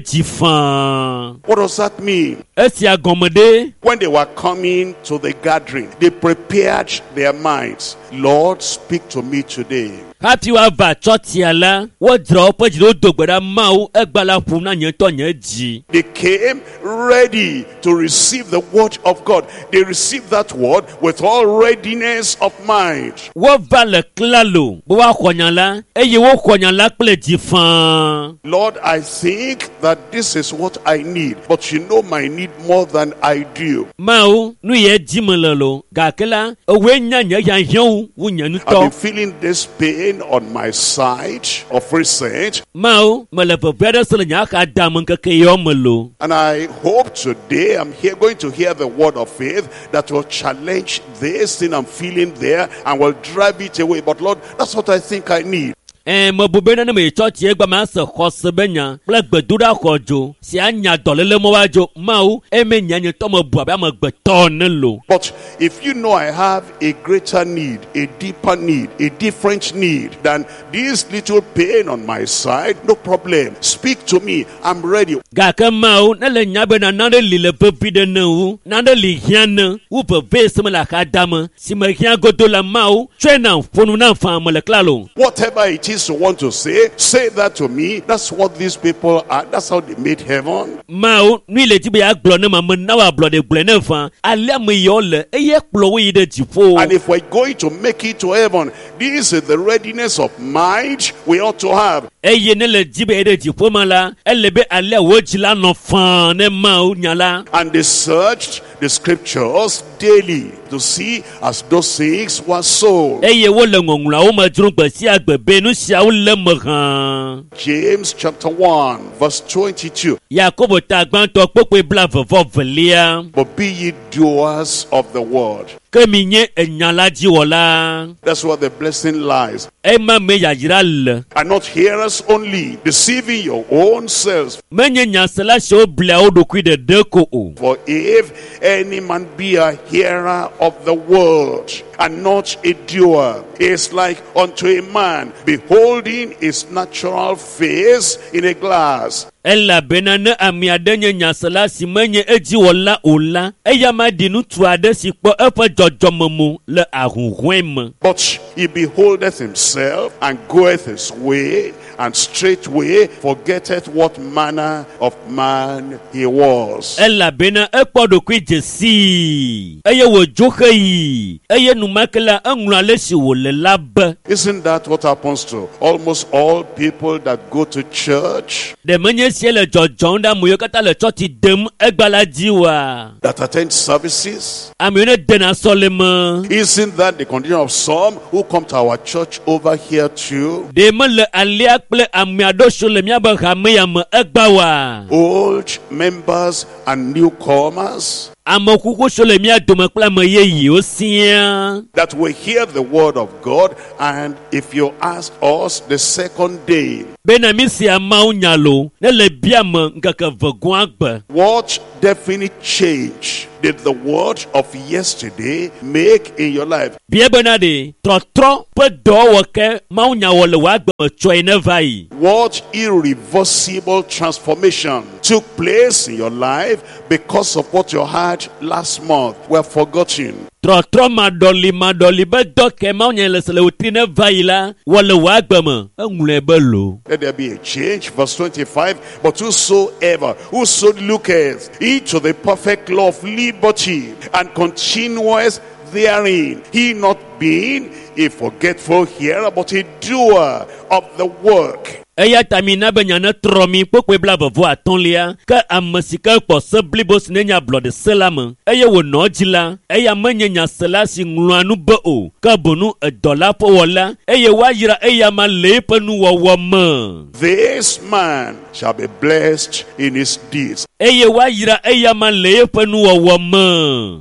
dzi faa. What does that mean? Esia gɔme ɖe When they were coming to the gathering, they prepared their minds. Lord, speak to me today. Hafi woava tsɔtsia la, wodzra woƒe dzi ɖe wodo gbe ɖa Mawu egba la ƒom na nye ŋutɔ nye dzi. They came ready to receive the word of God. They received that word with all readiness of mind. Wova le klalo be woaxɔ nya la eye woxɔ nya la kple dzi faa. Lord, I think that this is what I need, but you know my need more than I do. Mawu, nu ye dzi me le lo, gake la, ewoe nya nye hiahiãwo wu nye I've ŋutɔ. been feeling this pain on my side of recent, Mawu, mele veve aɖe se le nye axadame ŋkeke yawo me lo. and I hope today I'm here going to hear the word of faith that will challenge this thing I'm feeling there and will drive it away. But Lord, that's what I think I need. Ɛ mebu bena ne meyi tsɔtsi egba mase xɔse be nya kple gbedoɖa xɔdzo si anya dɔléle mɔ woadzo Mawu eme nya nye ŋutɔ mebu abe amegbetɔ ene lo. But if you know I have a greater need, a deeper need, a different need than this little pain on my side, no problem. Speak to me. I'm ready. Gake Mawu ne le nya bena nane li le vevi ɖe ne wu, nane li hiã ne wu veve si me le axadame si me hiã godo la Mawu tsɔe nam ƒo nu nam faa mele klalo. Whatever it it is you want to say, say that to me. That's what these people are. That's how they made heaven. Mawu nu yi le dzi be yeagblɔ ne ma mena wò ablɔɖe gblɔe ne va alea ame yawo le eye kplɔ wo yi ɖe dziƒo. And if we're going to make it to heaven, this is the readiness of mind we ought to have. Eye ne le dzi be yeyi ɖe dziƒo ma la, ele be alea wò dzi la nɔ faa ne Mawu nya la. And they searched the scriptures daily to see as those things were so. Eye wole ŋɔŋlɔawo me dzrom gbe sia gbe be nu siawo le me hã. James chapter 1, verse 22. Yakobo ta gbãtɔ kpokpoe 22. But be ye doers of the word. Ke mi nye enya la dziwɔla. That's where the blessing lies. Ema me yayra le. And not hearers only, deceiving your own selves. Menye nyasela siwo blia wo ɖokui ɖeɖe ko o. For if any man be a hearer of the word and not a doer, he is like unto a man beholding his natural face in a glass. Elabena ne ame aɖe nye nyasela si menye edziwɔla o la, eya ma ɖi ŋutsu aɖe si kpɔ eƒe dzɔdzɔmemo le ahuhɔ̃e me. But he beholdeth himself and goeth his way, and straightway forgetteth what manner of man he was. Elabena ekpɔ ɖokui dze sii eye wòdzo xeyi eye enumake la eŋlɔ ale si wòle la be. Isn't that what happens to almost all people that go to church? Ɖe menye esia le dzɔdzɔm ɖe ame yiwo katã le tsɔtsi dem egbea la dzi oa? That attend services? Ame yiwo ne dena sɔleme. Isn't that the condition of some who come to our church over here too? Ɖe mele alea kple ame aɖewo siwo le míabe hame ya me egbea oa? Old members and newcomers. Ame kuku siwo le mía dome kple ame yeyewo siaa. That we hear the word of God, and if you ask us the second day, Bena mi sia Mawu nya lo, ne le bia me ŋkeke ve gɔ̃a gbe. What definite change did the word of yesterday make in your life? Bia bena ɖe trɔtrɔ ƒe dɔwɔwɔ ke Mawu nya wɔ le wò agbe me tsɔe ne va yi. What irreversible transformation took place in your life because of what you had last month were forgotten? Trɔtrɔ maɖɔli maɖɔli be dɔ ke Mawu nya le se le wòtri ne va yi la wɔ le wò agbe me eŋlɔe be lo. Let there be a change. Verse 25. But whosoever, whoso looketh into the perfect law of liberty and continueth therein, he not being a forgetful hearer, but a doer of the work. Eya ta mina be nya ne trɔ mi kpokpoe 25 ke ame si ke kpɔ se blibo si ne nye ablɔɖe se la me eye wònɔ edzi la, eya menye nyasela si ŋlɔa nu be o, ke boŋ edɔla ƒe wɔla eye woayra eya ma le eƒe nuwɔwɔ me. This man shall be blessed in his deeds. Eye woayra eya ma le eƒe nuwɔwɔ me.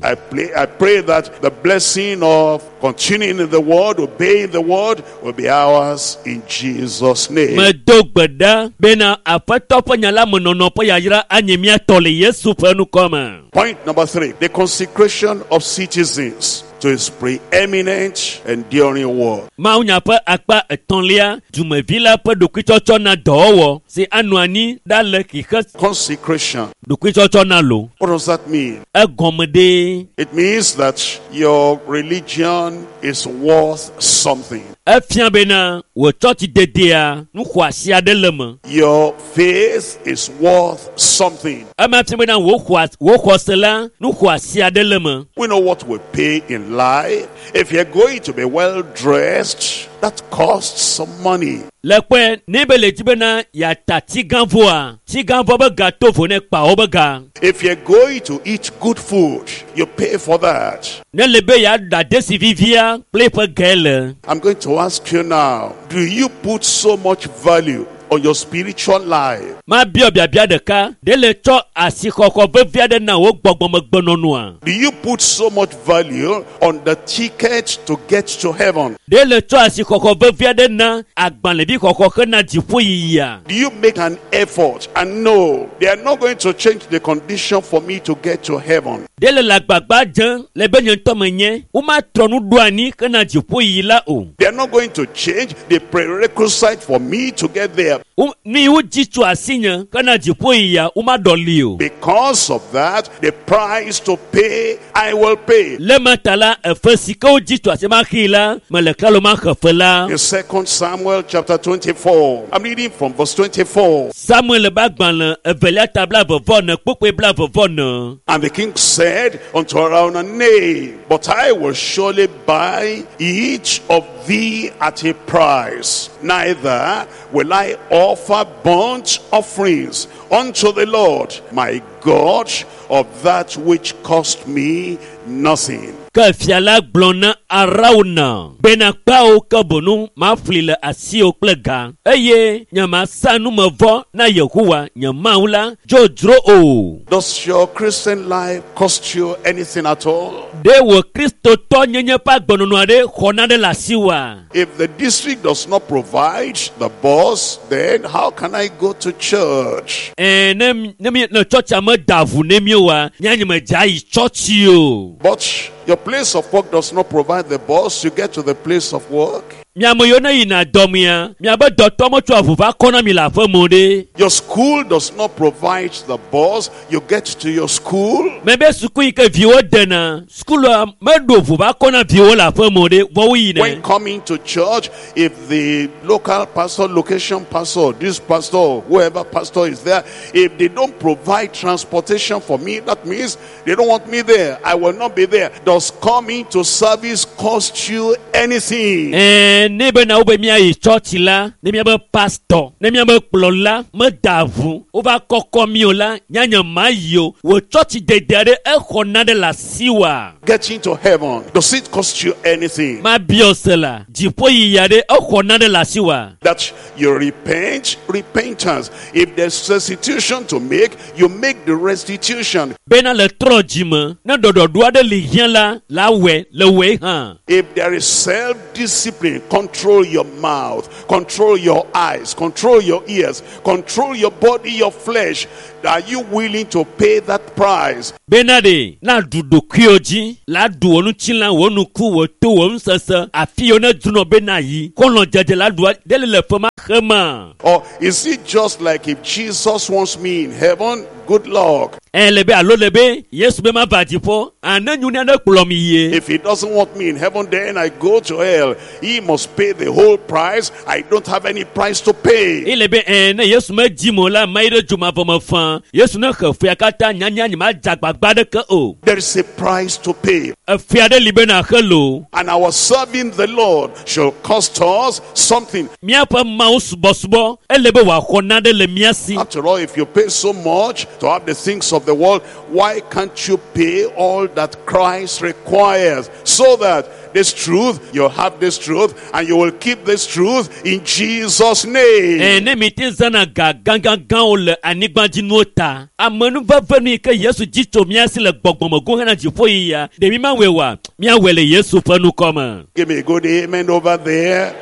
I pray that the blessing of continuing in the word, obeying the word, will be ours in Jesus' name. Medo gbe ɖa bena Aƒetɔ ƒe nya la me nɔnɔ ƒe yayra anye mía tɔ le Yesu ƒe ŋkɔ me. Point number 3, the consecration of citizens to his preeminent enduring word. Mawu nya ƒe akpa etɔ̃lia, dumevi la ƒe ɖokuitsɔtsɔ na dɔwɔwɔ si anɔ anyi ɖa le xixe. Consecration. Ɖokuitsɔtsɔ na lo. What does that mean? Egɔme ɖe. It means that your religion is worth something. Efia bena wò tsɔtsi dedea nu xɔasi aɖe le me. Your faith is worth something. Ema fia bena wò xɔse la nu xɔasi aɖe le me. We know what we pay in life. If you're going to be well dressed, that costs some money. Le kpɔe ne be le dzi bena yeata tsigãvɔa, tsigãvɔ be ga to vo ne kpawo be ga. If you're going to eat good food, you pay for that. Ne le be yeaɖa desi vivia kple eƒe ge le. I'm going to ask you now, do you put so much value on your spiritual life? Mabiɔ biabia ɖeka, ɖe le tsɔ asixɔxɔ vevi aɖe na wò gbɔgbɔmegbenɔnɔa? Do you put so much value on the ticket to get to heaven? Ɖe le tsɔ asixɔxɔ vevi aɖe na agbalẽvi xɔxɔ hena dziƒoyiyia? Do you make an effort and know they are not going to change the condition for me to get to heaven? Ɖe le agbagba dze le be nye ŋutɔ menye, womatrɔ nu ɖo anyi hena dziƒoyiyi la o. They are not going to change the prerequisite for me to get there. Wo- Nu yi wodzi tso asinye hena dziƒo yia womaɖɔli o. Because of that, the price to pay, I will pay. Le ma ta la efe si ke wodzi tso asi maxii la mele klalo maxe fe la. In 2 Samuel chapter 24, I'm reading from verse 24. Samuel ƒe agbalẽ evelia ta 24 kpukpui 24. And the king said unto Araunah, Nay, but I will surely buy each of thee at a price. Neither will I offer burnt offerings unto the Lord my God of that which cost me nothing. Ke fia la gblɔ na Arauna bena kpeawo ke bonu maƒli le asiwò kple ga eye nyemasa numevɔ na Yehowa nye Mawu la dzodzro o. Does your Christian life cost you anything at all? Ɖe wò kristotɔ nyenye ƒe agbenɔnɔ aɖe xɔ naɖe le asiwòa? If the district does not provide the bus, then how can I go to church? Ɛɛ ne ne mi ne tsɔtsia meda ʋu ne mi oa, mía nye medze ayi tsɔtsi o. But your place of work does not provide the bus, you get to the place of work. Miame yiwo ne yina dɔmea, miabe dɔtɔ metsɔa ʋu va kɔ na mi le aƒe me o ɖe. Your school does not provide the bus, you get to your school. Mebe suku yi ke viwo dena, sukulua meɖo ʋu va kɔ na viwo le aƒe me o ɖe, vɔ woyina. When coming to church, if the local pastor, location pastor, this pastor, whoever pastor is there, if they don't provide transportation for me, that means they don't want me there. I will not be there. Does coming to service cost you anything? Ɛɛ ne bena wobe míayi tsɔtsi la, ne míabe pastɔ, ne míabe kplɔla meda ʋu wova kɔkɔ mi o la, nyanye ma yi o. Wò tsɔtsi dede aɖe exɔ naɖe le asiwòa? Getting to heaven, does it cost you anything? Mabiɔ se la, dziƒoyiyi aɖe exɔ naɖe le asiwòa? That you repent, repentance. If there's restitution to make, you make the restitution. Bena le trɔ dzime, ne ɖɔɖɔɖo aɖe li hiã la, la wɔe le wɔe hã. If there is self-discipline, control your mouth, control your eyes, control your ears, control your body, your flesh. Are you willing to pay that price? Bena ɖe na ɖu ɖokuiwo dzi, la ɖu wò ŋutilã, wò nuku, wò to, wò nusese, afi yiwo ne dzronɔ bena yi, xɔlɔ̃dzedze la ɖua ɖe le le fe ma xema. Or is it just like if Jesus wants me in heaven, good luck. Ɛ le be alo le be Yesu be mava dziƒo, ane nyu ne aɖe kplɔ mi yie. If he doesn't want me in heaven, then I go to hell. He must pay the whole price. I don't have any price to pay. Ele be ɛ ne Yesu medzi mo la, mayi ɖe dzomavɔ me fã. Yesu ne xe fea katã nyanya nye madze agbagba ɖeke o. There is a price to pay. Efea ɖe li bena xe lo. And our serving the Lord shall cost us something. Míaƒe Mawu subɔsubɔ ele be wòaxɔ naɖe le mía si. After all, if you pay so much to have the things of the world, why can't you pay all that Christ requires so that this truth, you'll have this truth, and you will keep this truth in Jesus' name. Ɛ ne mi te zãna ga gãgãgãwo le anyigbadzinuwo ta, amenuveve nu yi ke Yesu dzi tso mía si le gbɔgbɔmego hena dziƒoyiyia, ɖe mi mawɔe oa? Míawɔe le Yesu ƒe nukɔme. Give me a good amen over there.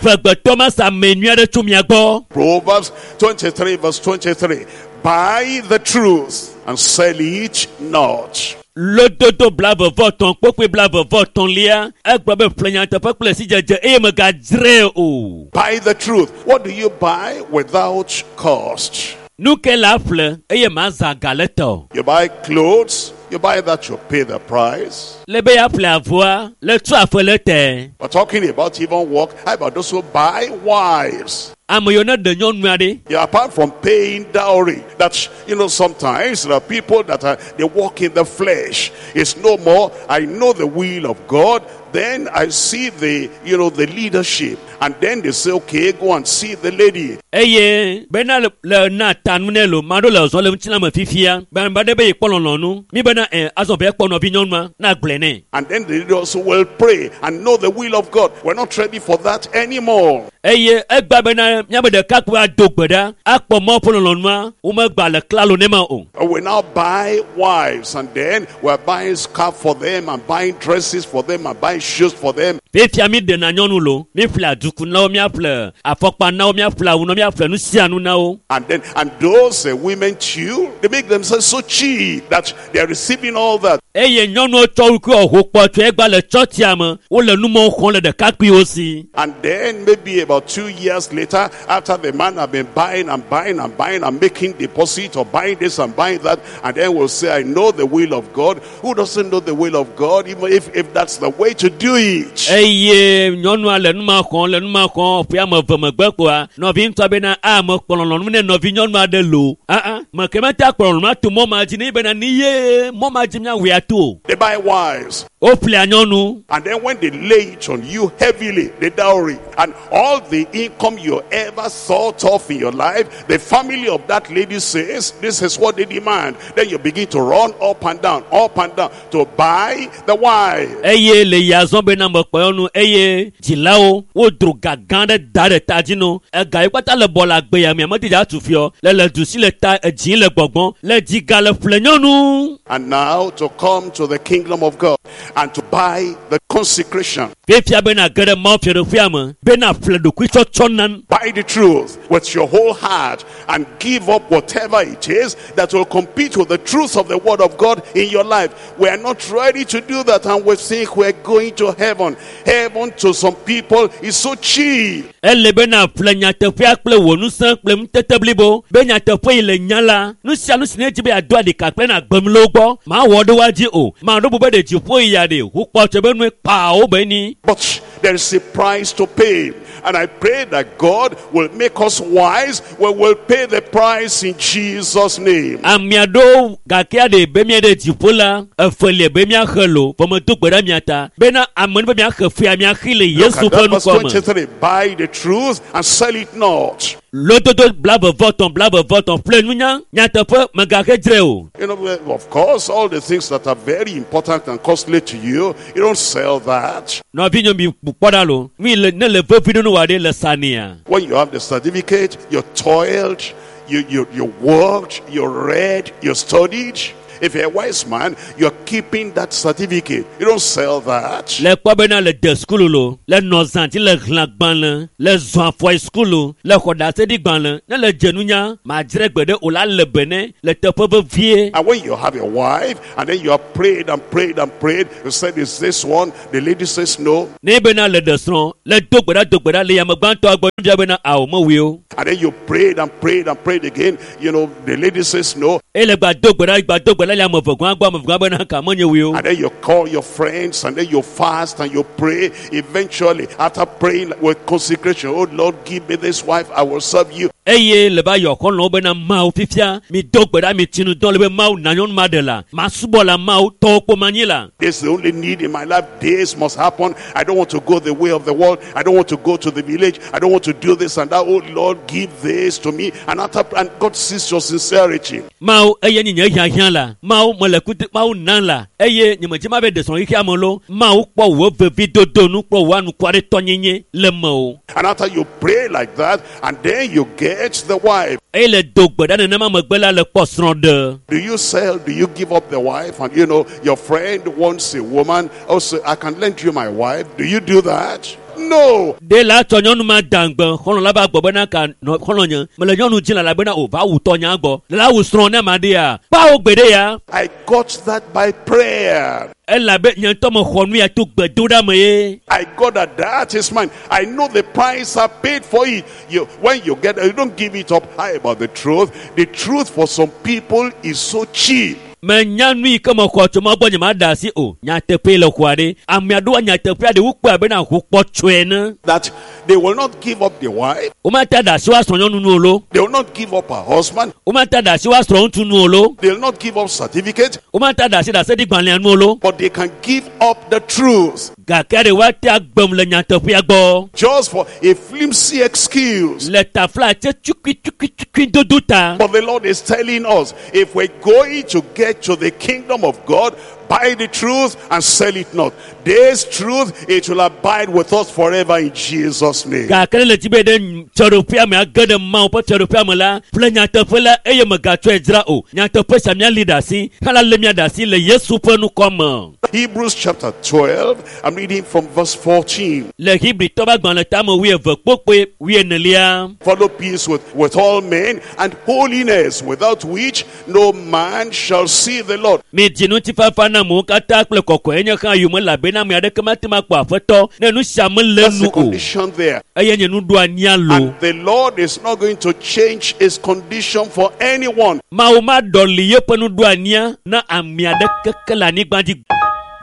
Vegbetɔ ma sa ame nyui aɖe tso mia gbɔ. Proverbs 23, verse 23. Buy the truth and sell it not. Lododo 23 kpukpui 23 egblɔ be ƒle nyateƒe kple sidzedze eye megadzrae o. Buy the truth. What do you buy without cost? Nu ke la ƒle eye mazã ga le te o. You buy clothes, you buy that, you pay the price. Le be yeaƒle avɔa, le tso afe le te. We're talking about even work. How about those who buy wives? Ame yiwo ne ɖe nyɔnu aɖe. Yeah, apart from paying dowry, that's, you know, sometimes there are people that are, they walk in the flesh. It's no more, I know the will of God. Then I see the, you know, the leadership. And then they say, okay, go and see the lady. Eye bena le le na tanu ne lo ma ɖo le zɔ le ŋutilã me fifia. Be ame aɖe be yekpɔ lɔlɔ̃nu. Mi bena ɛ azɔ be ekpɔ nɔvi nyɔnua na gblɔe nɛ. And then the leader also will pray and know the will of God. We're not ready for that anymore. Eye egba bena míabe ɖekakpui ado gbe ɖa akpɔ Mawu ƒe lɔlɔ̃nua womegba le klalo ne ma o. We now buy wives, and then we're buying scarf for them and buying dresses for them and buying shoes for them. Fifia mi ɖena nyɔnu lo, mi ƒle aduku na wo, míaƒle afɔkpa na wo, míaƒle awu na wo, míaƒle nu sia nu na wo. And then, and those women too, they make themselves so cheap that there is receiving all that. Eye nyɔnuwo tsɔ wo ɖokuiwo ho kpɔtɔe gba le tsɔtsia me wole numɔwo xɔm le ɖekakpuiwo si. And then maybe about 2 years later, after the man have been buying and buying and buying and making deposit or buying this and buying that, and then we'll say, I know the will of God. Who doesn't know the will of God, even if that's the way to do it? Eye nyɔnua le numa xɔm le numa xɔm ƒe ame eve megbe kpoa nɔvi ŋutɔ bena a mekpɔ lɔlɔ̃nu ne nɔvi nyɔnu aɖe lo aa meke mete akplɔ lɔlɔ̃nu ato mɔ ma dzi ne bena ni ye mɔ ma dzi míawɔe ato o. They buy wives. Woƒlea nyɔnu. And then when they lay it on you heavily, the dowry, and all the income you ever thought of in your life, the family of that lady says, this is what they demand. Then you begin to run up and down to buy the wife. Eye le yazɔ bena mekpɔ nyɔnu eye dzilawo wodro ga gã ɖe da ɖe ta dzi no ega yi kpata le bɔ le agbe ya mea mete dza tu fiɔ le le du si le ta edzi le gbɔgbɔm le dziga le ƒle nyɔnu. And now to come to the kingdom of God and to buy the consecration. Fifia bena ge ɖe Mawu fiaɖuƒea me bena ƒle ɖokuitsɔtsɔ nam. Buy the truth with your whole heart and give up whatever it is that will compete with the truth of the word of God in your life. We are not ready to do that, and we think we're going to heaven. Heaven to some people is so cheap. Ele bena ƒle nyateƒea kple wò ŋusẽ kple ŋutete blibo be nyateƒe yi le nya la nu sia nu si ne dzi be yeado aɖika kple na gbem le wo gbɔ mawɔ ɖe woa dzi o maɖo bu be ɖe dziƒo yi ya ɖe hukpɔtse be nue kpawo be ni. But there is a price to pay. And I pray that God will make us wise. We will pay the price in Jesus' name. Ame aɖewo gake aɖe be mía ɖe dziƒo la efe li be míaxe lo vɔ medo gbe ɖe mia ta bena ame nu be míaxe fea míaxi le Look Yesu at ƒe that verse ŋkɔ me. 23. Buy the truth and sell it not. Lododo 23 23 ƒle nunya nyateƒe megaxe dzre o. Well, of course, all the things that are very important and costly to you, you don't sell that. Nɔvinye mi kpɔ ɖa lo mi le ne le vevi ɖe nu wa ɖe le sania. When you have the certificate, you toiled, you worked, you read, you studied. If you're a wise man, you're keeping that certificate. You don't sell that. Le kpɔ bena le de sukulu lo le nɔ zã dzi le xlẽ gbalẽ le zɔ afɔ yi sukulu le xɔ ɖaseɖi gbalẽ ne le dze nunya madzre gbe ɖe o la le be ne le teƒe vevie. And when you have a wife, and then you have prayed and prayed and prayed, you said, is this one? The lady says no. Ne bena le ɖe srɔ̃ le do gbe ɖa do gbe ɖa le yame gbãtɔa gbɔ nyɔnuvia bena awo mewui o. And then you prayed and prayed and prayed again. The lady says no. Eye le gba do gbe ɖa gba do gbe ɖa le ame eve gɔ̃ gbɔ ame eve gɔ̃ bena ka menye wui o. And then you call your friends, and then you fast and you pray. Eventually, after praying with consecration, oh Lord, give me this wife, I will serve you. Eye le va yɔ xɔlɔ̃wo bena Mawu fifia mi do gbe ɖa mi tsi nu dɔn le be Mawu na nyɔnu ma ɖe la masubɔ la Mawu tɔwo kpo manyi la. This is the only need in my life. This must happen. I don't want to go the way of the world. I don't want to go to the village. I don't want to do this and that. Oh Lord, give this to me. And after, and God sees your sincerity. Mawu eye nye nye hiahiã la Mawu mele kutu Mawu nam la eye nye medzi ma be ɖe srɔ̃ xexea me lo Mawu kpɔ wò vevi dodo nu kpɔ wò anukuaretɔnyenye le me o. And after you pray like that, and then you get the wife. Eye le do gbe ɖa nenema megbe la le kpɔ srɔ̃ ɖe. Do you sell? Do you give up the wife? And your friend wants a woman. Also, I can lend you my wife. Do you do that? No. Ɖe la tsɔ nyɔnu ma da ŋgbe xɔlɔ̃ la va gbɔ bena ka nɔ xɔlɔ̃ nye mele nyɔnu dzi la bena o va wu tɔnya gbɔ le la wu srɔ̃ ne ma ɖea kpawo gbe ɖe ya. I got that by prayer. Elabe nye ŋutɔ mexɔ nu ya to gbedoɖa me ye. I got that. That is mine. I know the price I paid for it. You, when you get, you don't give it up. How about the truth? The truth for some people is so cheap. Menya nu yi ke mexɔ tso ma gbɔ nye ma da asi o nyateƒe le xɔa ɖe ame aɖewoa nyateƒea ɖe wokpɔe abe na ʋu kpɔtsɔe ene. That they will not give up the wife. Womate da asi woasrɔ̃ nyɔnu nu o lo. They will not give up her husband. Womate da asi woasrɔ̃ ŋutsu nu o lo. They will not give up certificate. Womate da asi ɖaseɖigbalẽa nu o lo. But they can give up the truth. Gake ɖe woate agbem le nyateƒea gbɔ. Just for a flimsy excuse. Le tafla tse tukui tukui tukui dodo ta. But the Lord is telling us, if we're going to get to the kingdom of God, Buy the truth and sell it not. This truth, it will abide with us forever in Jesus' name. Gake ne le dzi be ɖe fiaɖuƒea me age ɖe Mawu ƒe fiaɖuƒea me la, ƒle nyateƒe la eye mègatsɔe dzra o. Nyateƒe sia míali ɖe asi hã lé mía ɖe asi le Yesu ƒe ŋkɔ me. Hebrews chapter 12, I'm reading from verse 14. Le Hebritɔ ƒe agbalẽ tame 12 kpukpui 40. Follow peace with all men and holiness, without which no man shall see the Lord. Midzi ŋutifafa na amewo katã kple kɔkɔenyenye hã yome elabena ame aɖeke mate ŋu akpɔ Aƒetɔ ne nu sia mele That's nu the o. condition there. Eye nye nuɖoanyia lo. And the Lord is not going to change his condition for anyone. Mawu maɖɔli yeƒe nuɖoanyia na ame aɖeke ke le anyigba dzi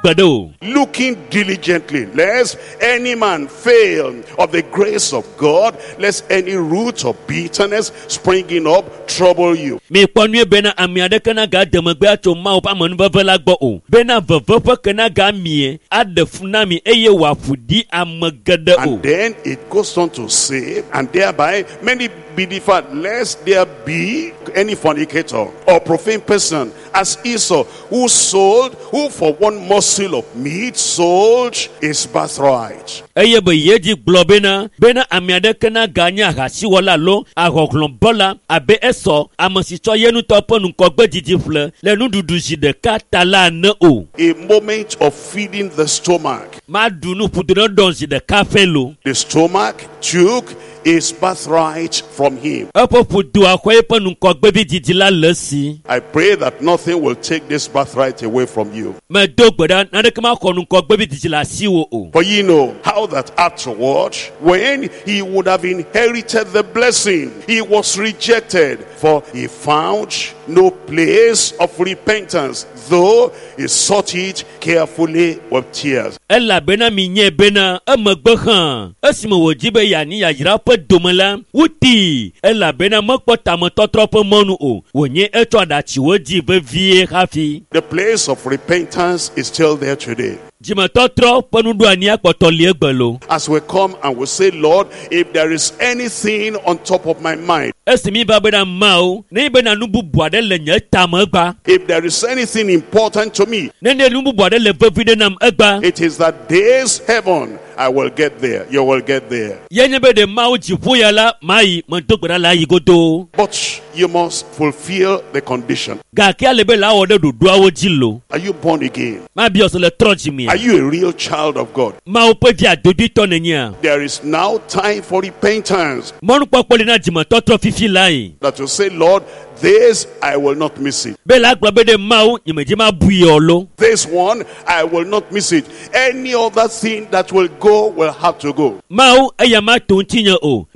gbeɖe o. Looking diligently, lest any man fail of the grace of God, lest any root of bitterness springing up trouble you. Mikpɔ nyuie bena ame aɖeke nagade megbe atso Mawu ƒe amenuveve la gbɔ o. Bena veve ƒe ke nagamie aɖe fu na mi eye wòaƒo ɖi ame geɖe o. And then it goes on to say, and thereby many be defiled, lest there be any fornicator or profane person, as Esau, who for one morsel of meat sold his birthright. Eye be yedzi gblɔ bena ame aɖeke naganye ahasiwɔla alo ahɔhlɔ̃bɔla abe Esɔ, ame si tsɔ ye ŋutɔ ƒe ŋgɔgbedzidzi ƒle le nuɖuɖu zi ɖeka ta la ene o. A moment of feeding the stomach. Maɖu nu ƒodo ne ɖɔ zi ɖeka ƒe lo. The stomach took his birthright from him. Eƒe ƒodoa xɔ eƒe ŋgɔgbevidzidzi la le esi. I pray that nothing will take this birthright away from you. Medo gbe ɖa naneke maxɔ ŋgɔgbevidzidzi le asiwò o. For ye know how that afterward, when he would have inherited the blessing, he was rejected, for he found no place of repentance, though he sought it carefully with tears. Elabena minyae bena emegbe hã esime wòdzi be yeanyi yayra ƒe dome la, wotii elabena mekpɔ tametɔtrɔ ƒe mɔnu o. Wònye etsɔ aɖatsiwo dzi vevie hafi. The place of repentance is still there today. Dzimetɔtrɔ ƒe nuɖoanyia kpɔtɔ li egbe lo. As we come and we say, Lord, if there is anything on top of my mind, Esi mi va bena Mawu, ne bena nu bubu aɖe le nye tame egba, if there is anything important to me, ne ne nu bubu aɖe le vevi ɖe nam egba, it is that this heaven, I will get there. You will get there. Ye nye be ɖe Mawu dziƒo ya la, mayi medo gbe ɖa le ayi godoo. But you must fulfill the condition. Gake ale be la wɔ ɖe ɖoɖoawo dzi lo. Are you born again? Mabiɔ se le trɔ dzimea. Are you a real child of God? Mawu ƒe vi adodoetɔ nènyea? There is now time for repentance. Mɔnukpɔkpɔ li na dzimetɔtrɔ fifi lae. That you say, Lord, this I will not miss it. Be la gblɔ be ɖe Mawu nyemedzi mabui o lo. This one, I will not miss it. Any other thing that will go will have to go. Mawu eya ma to ŋutinye o. Ne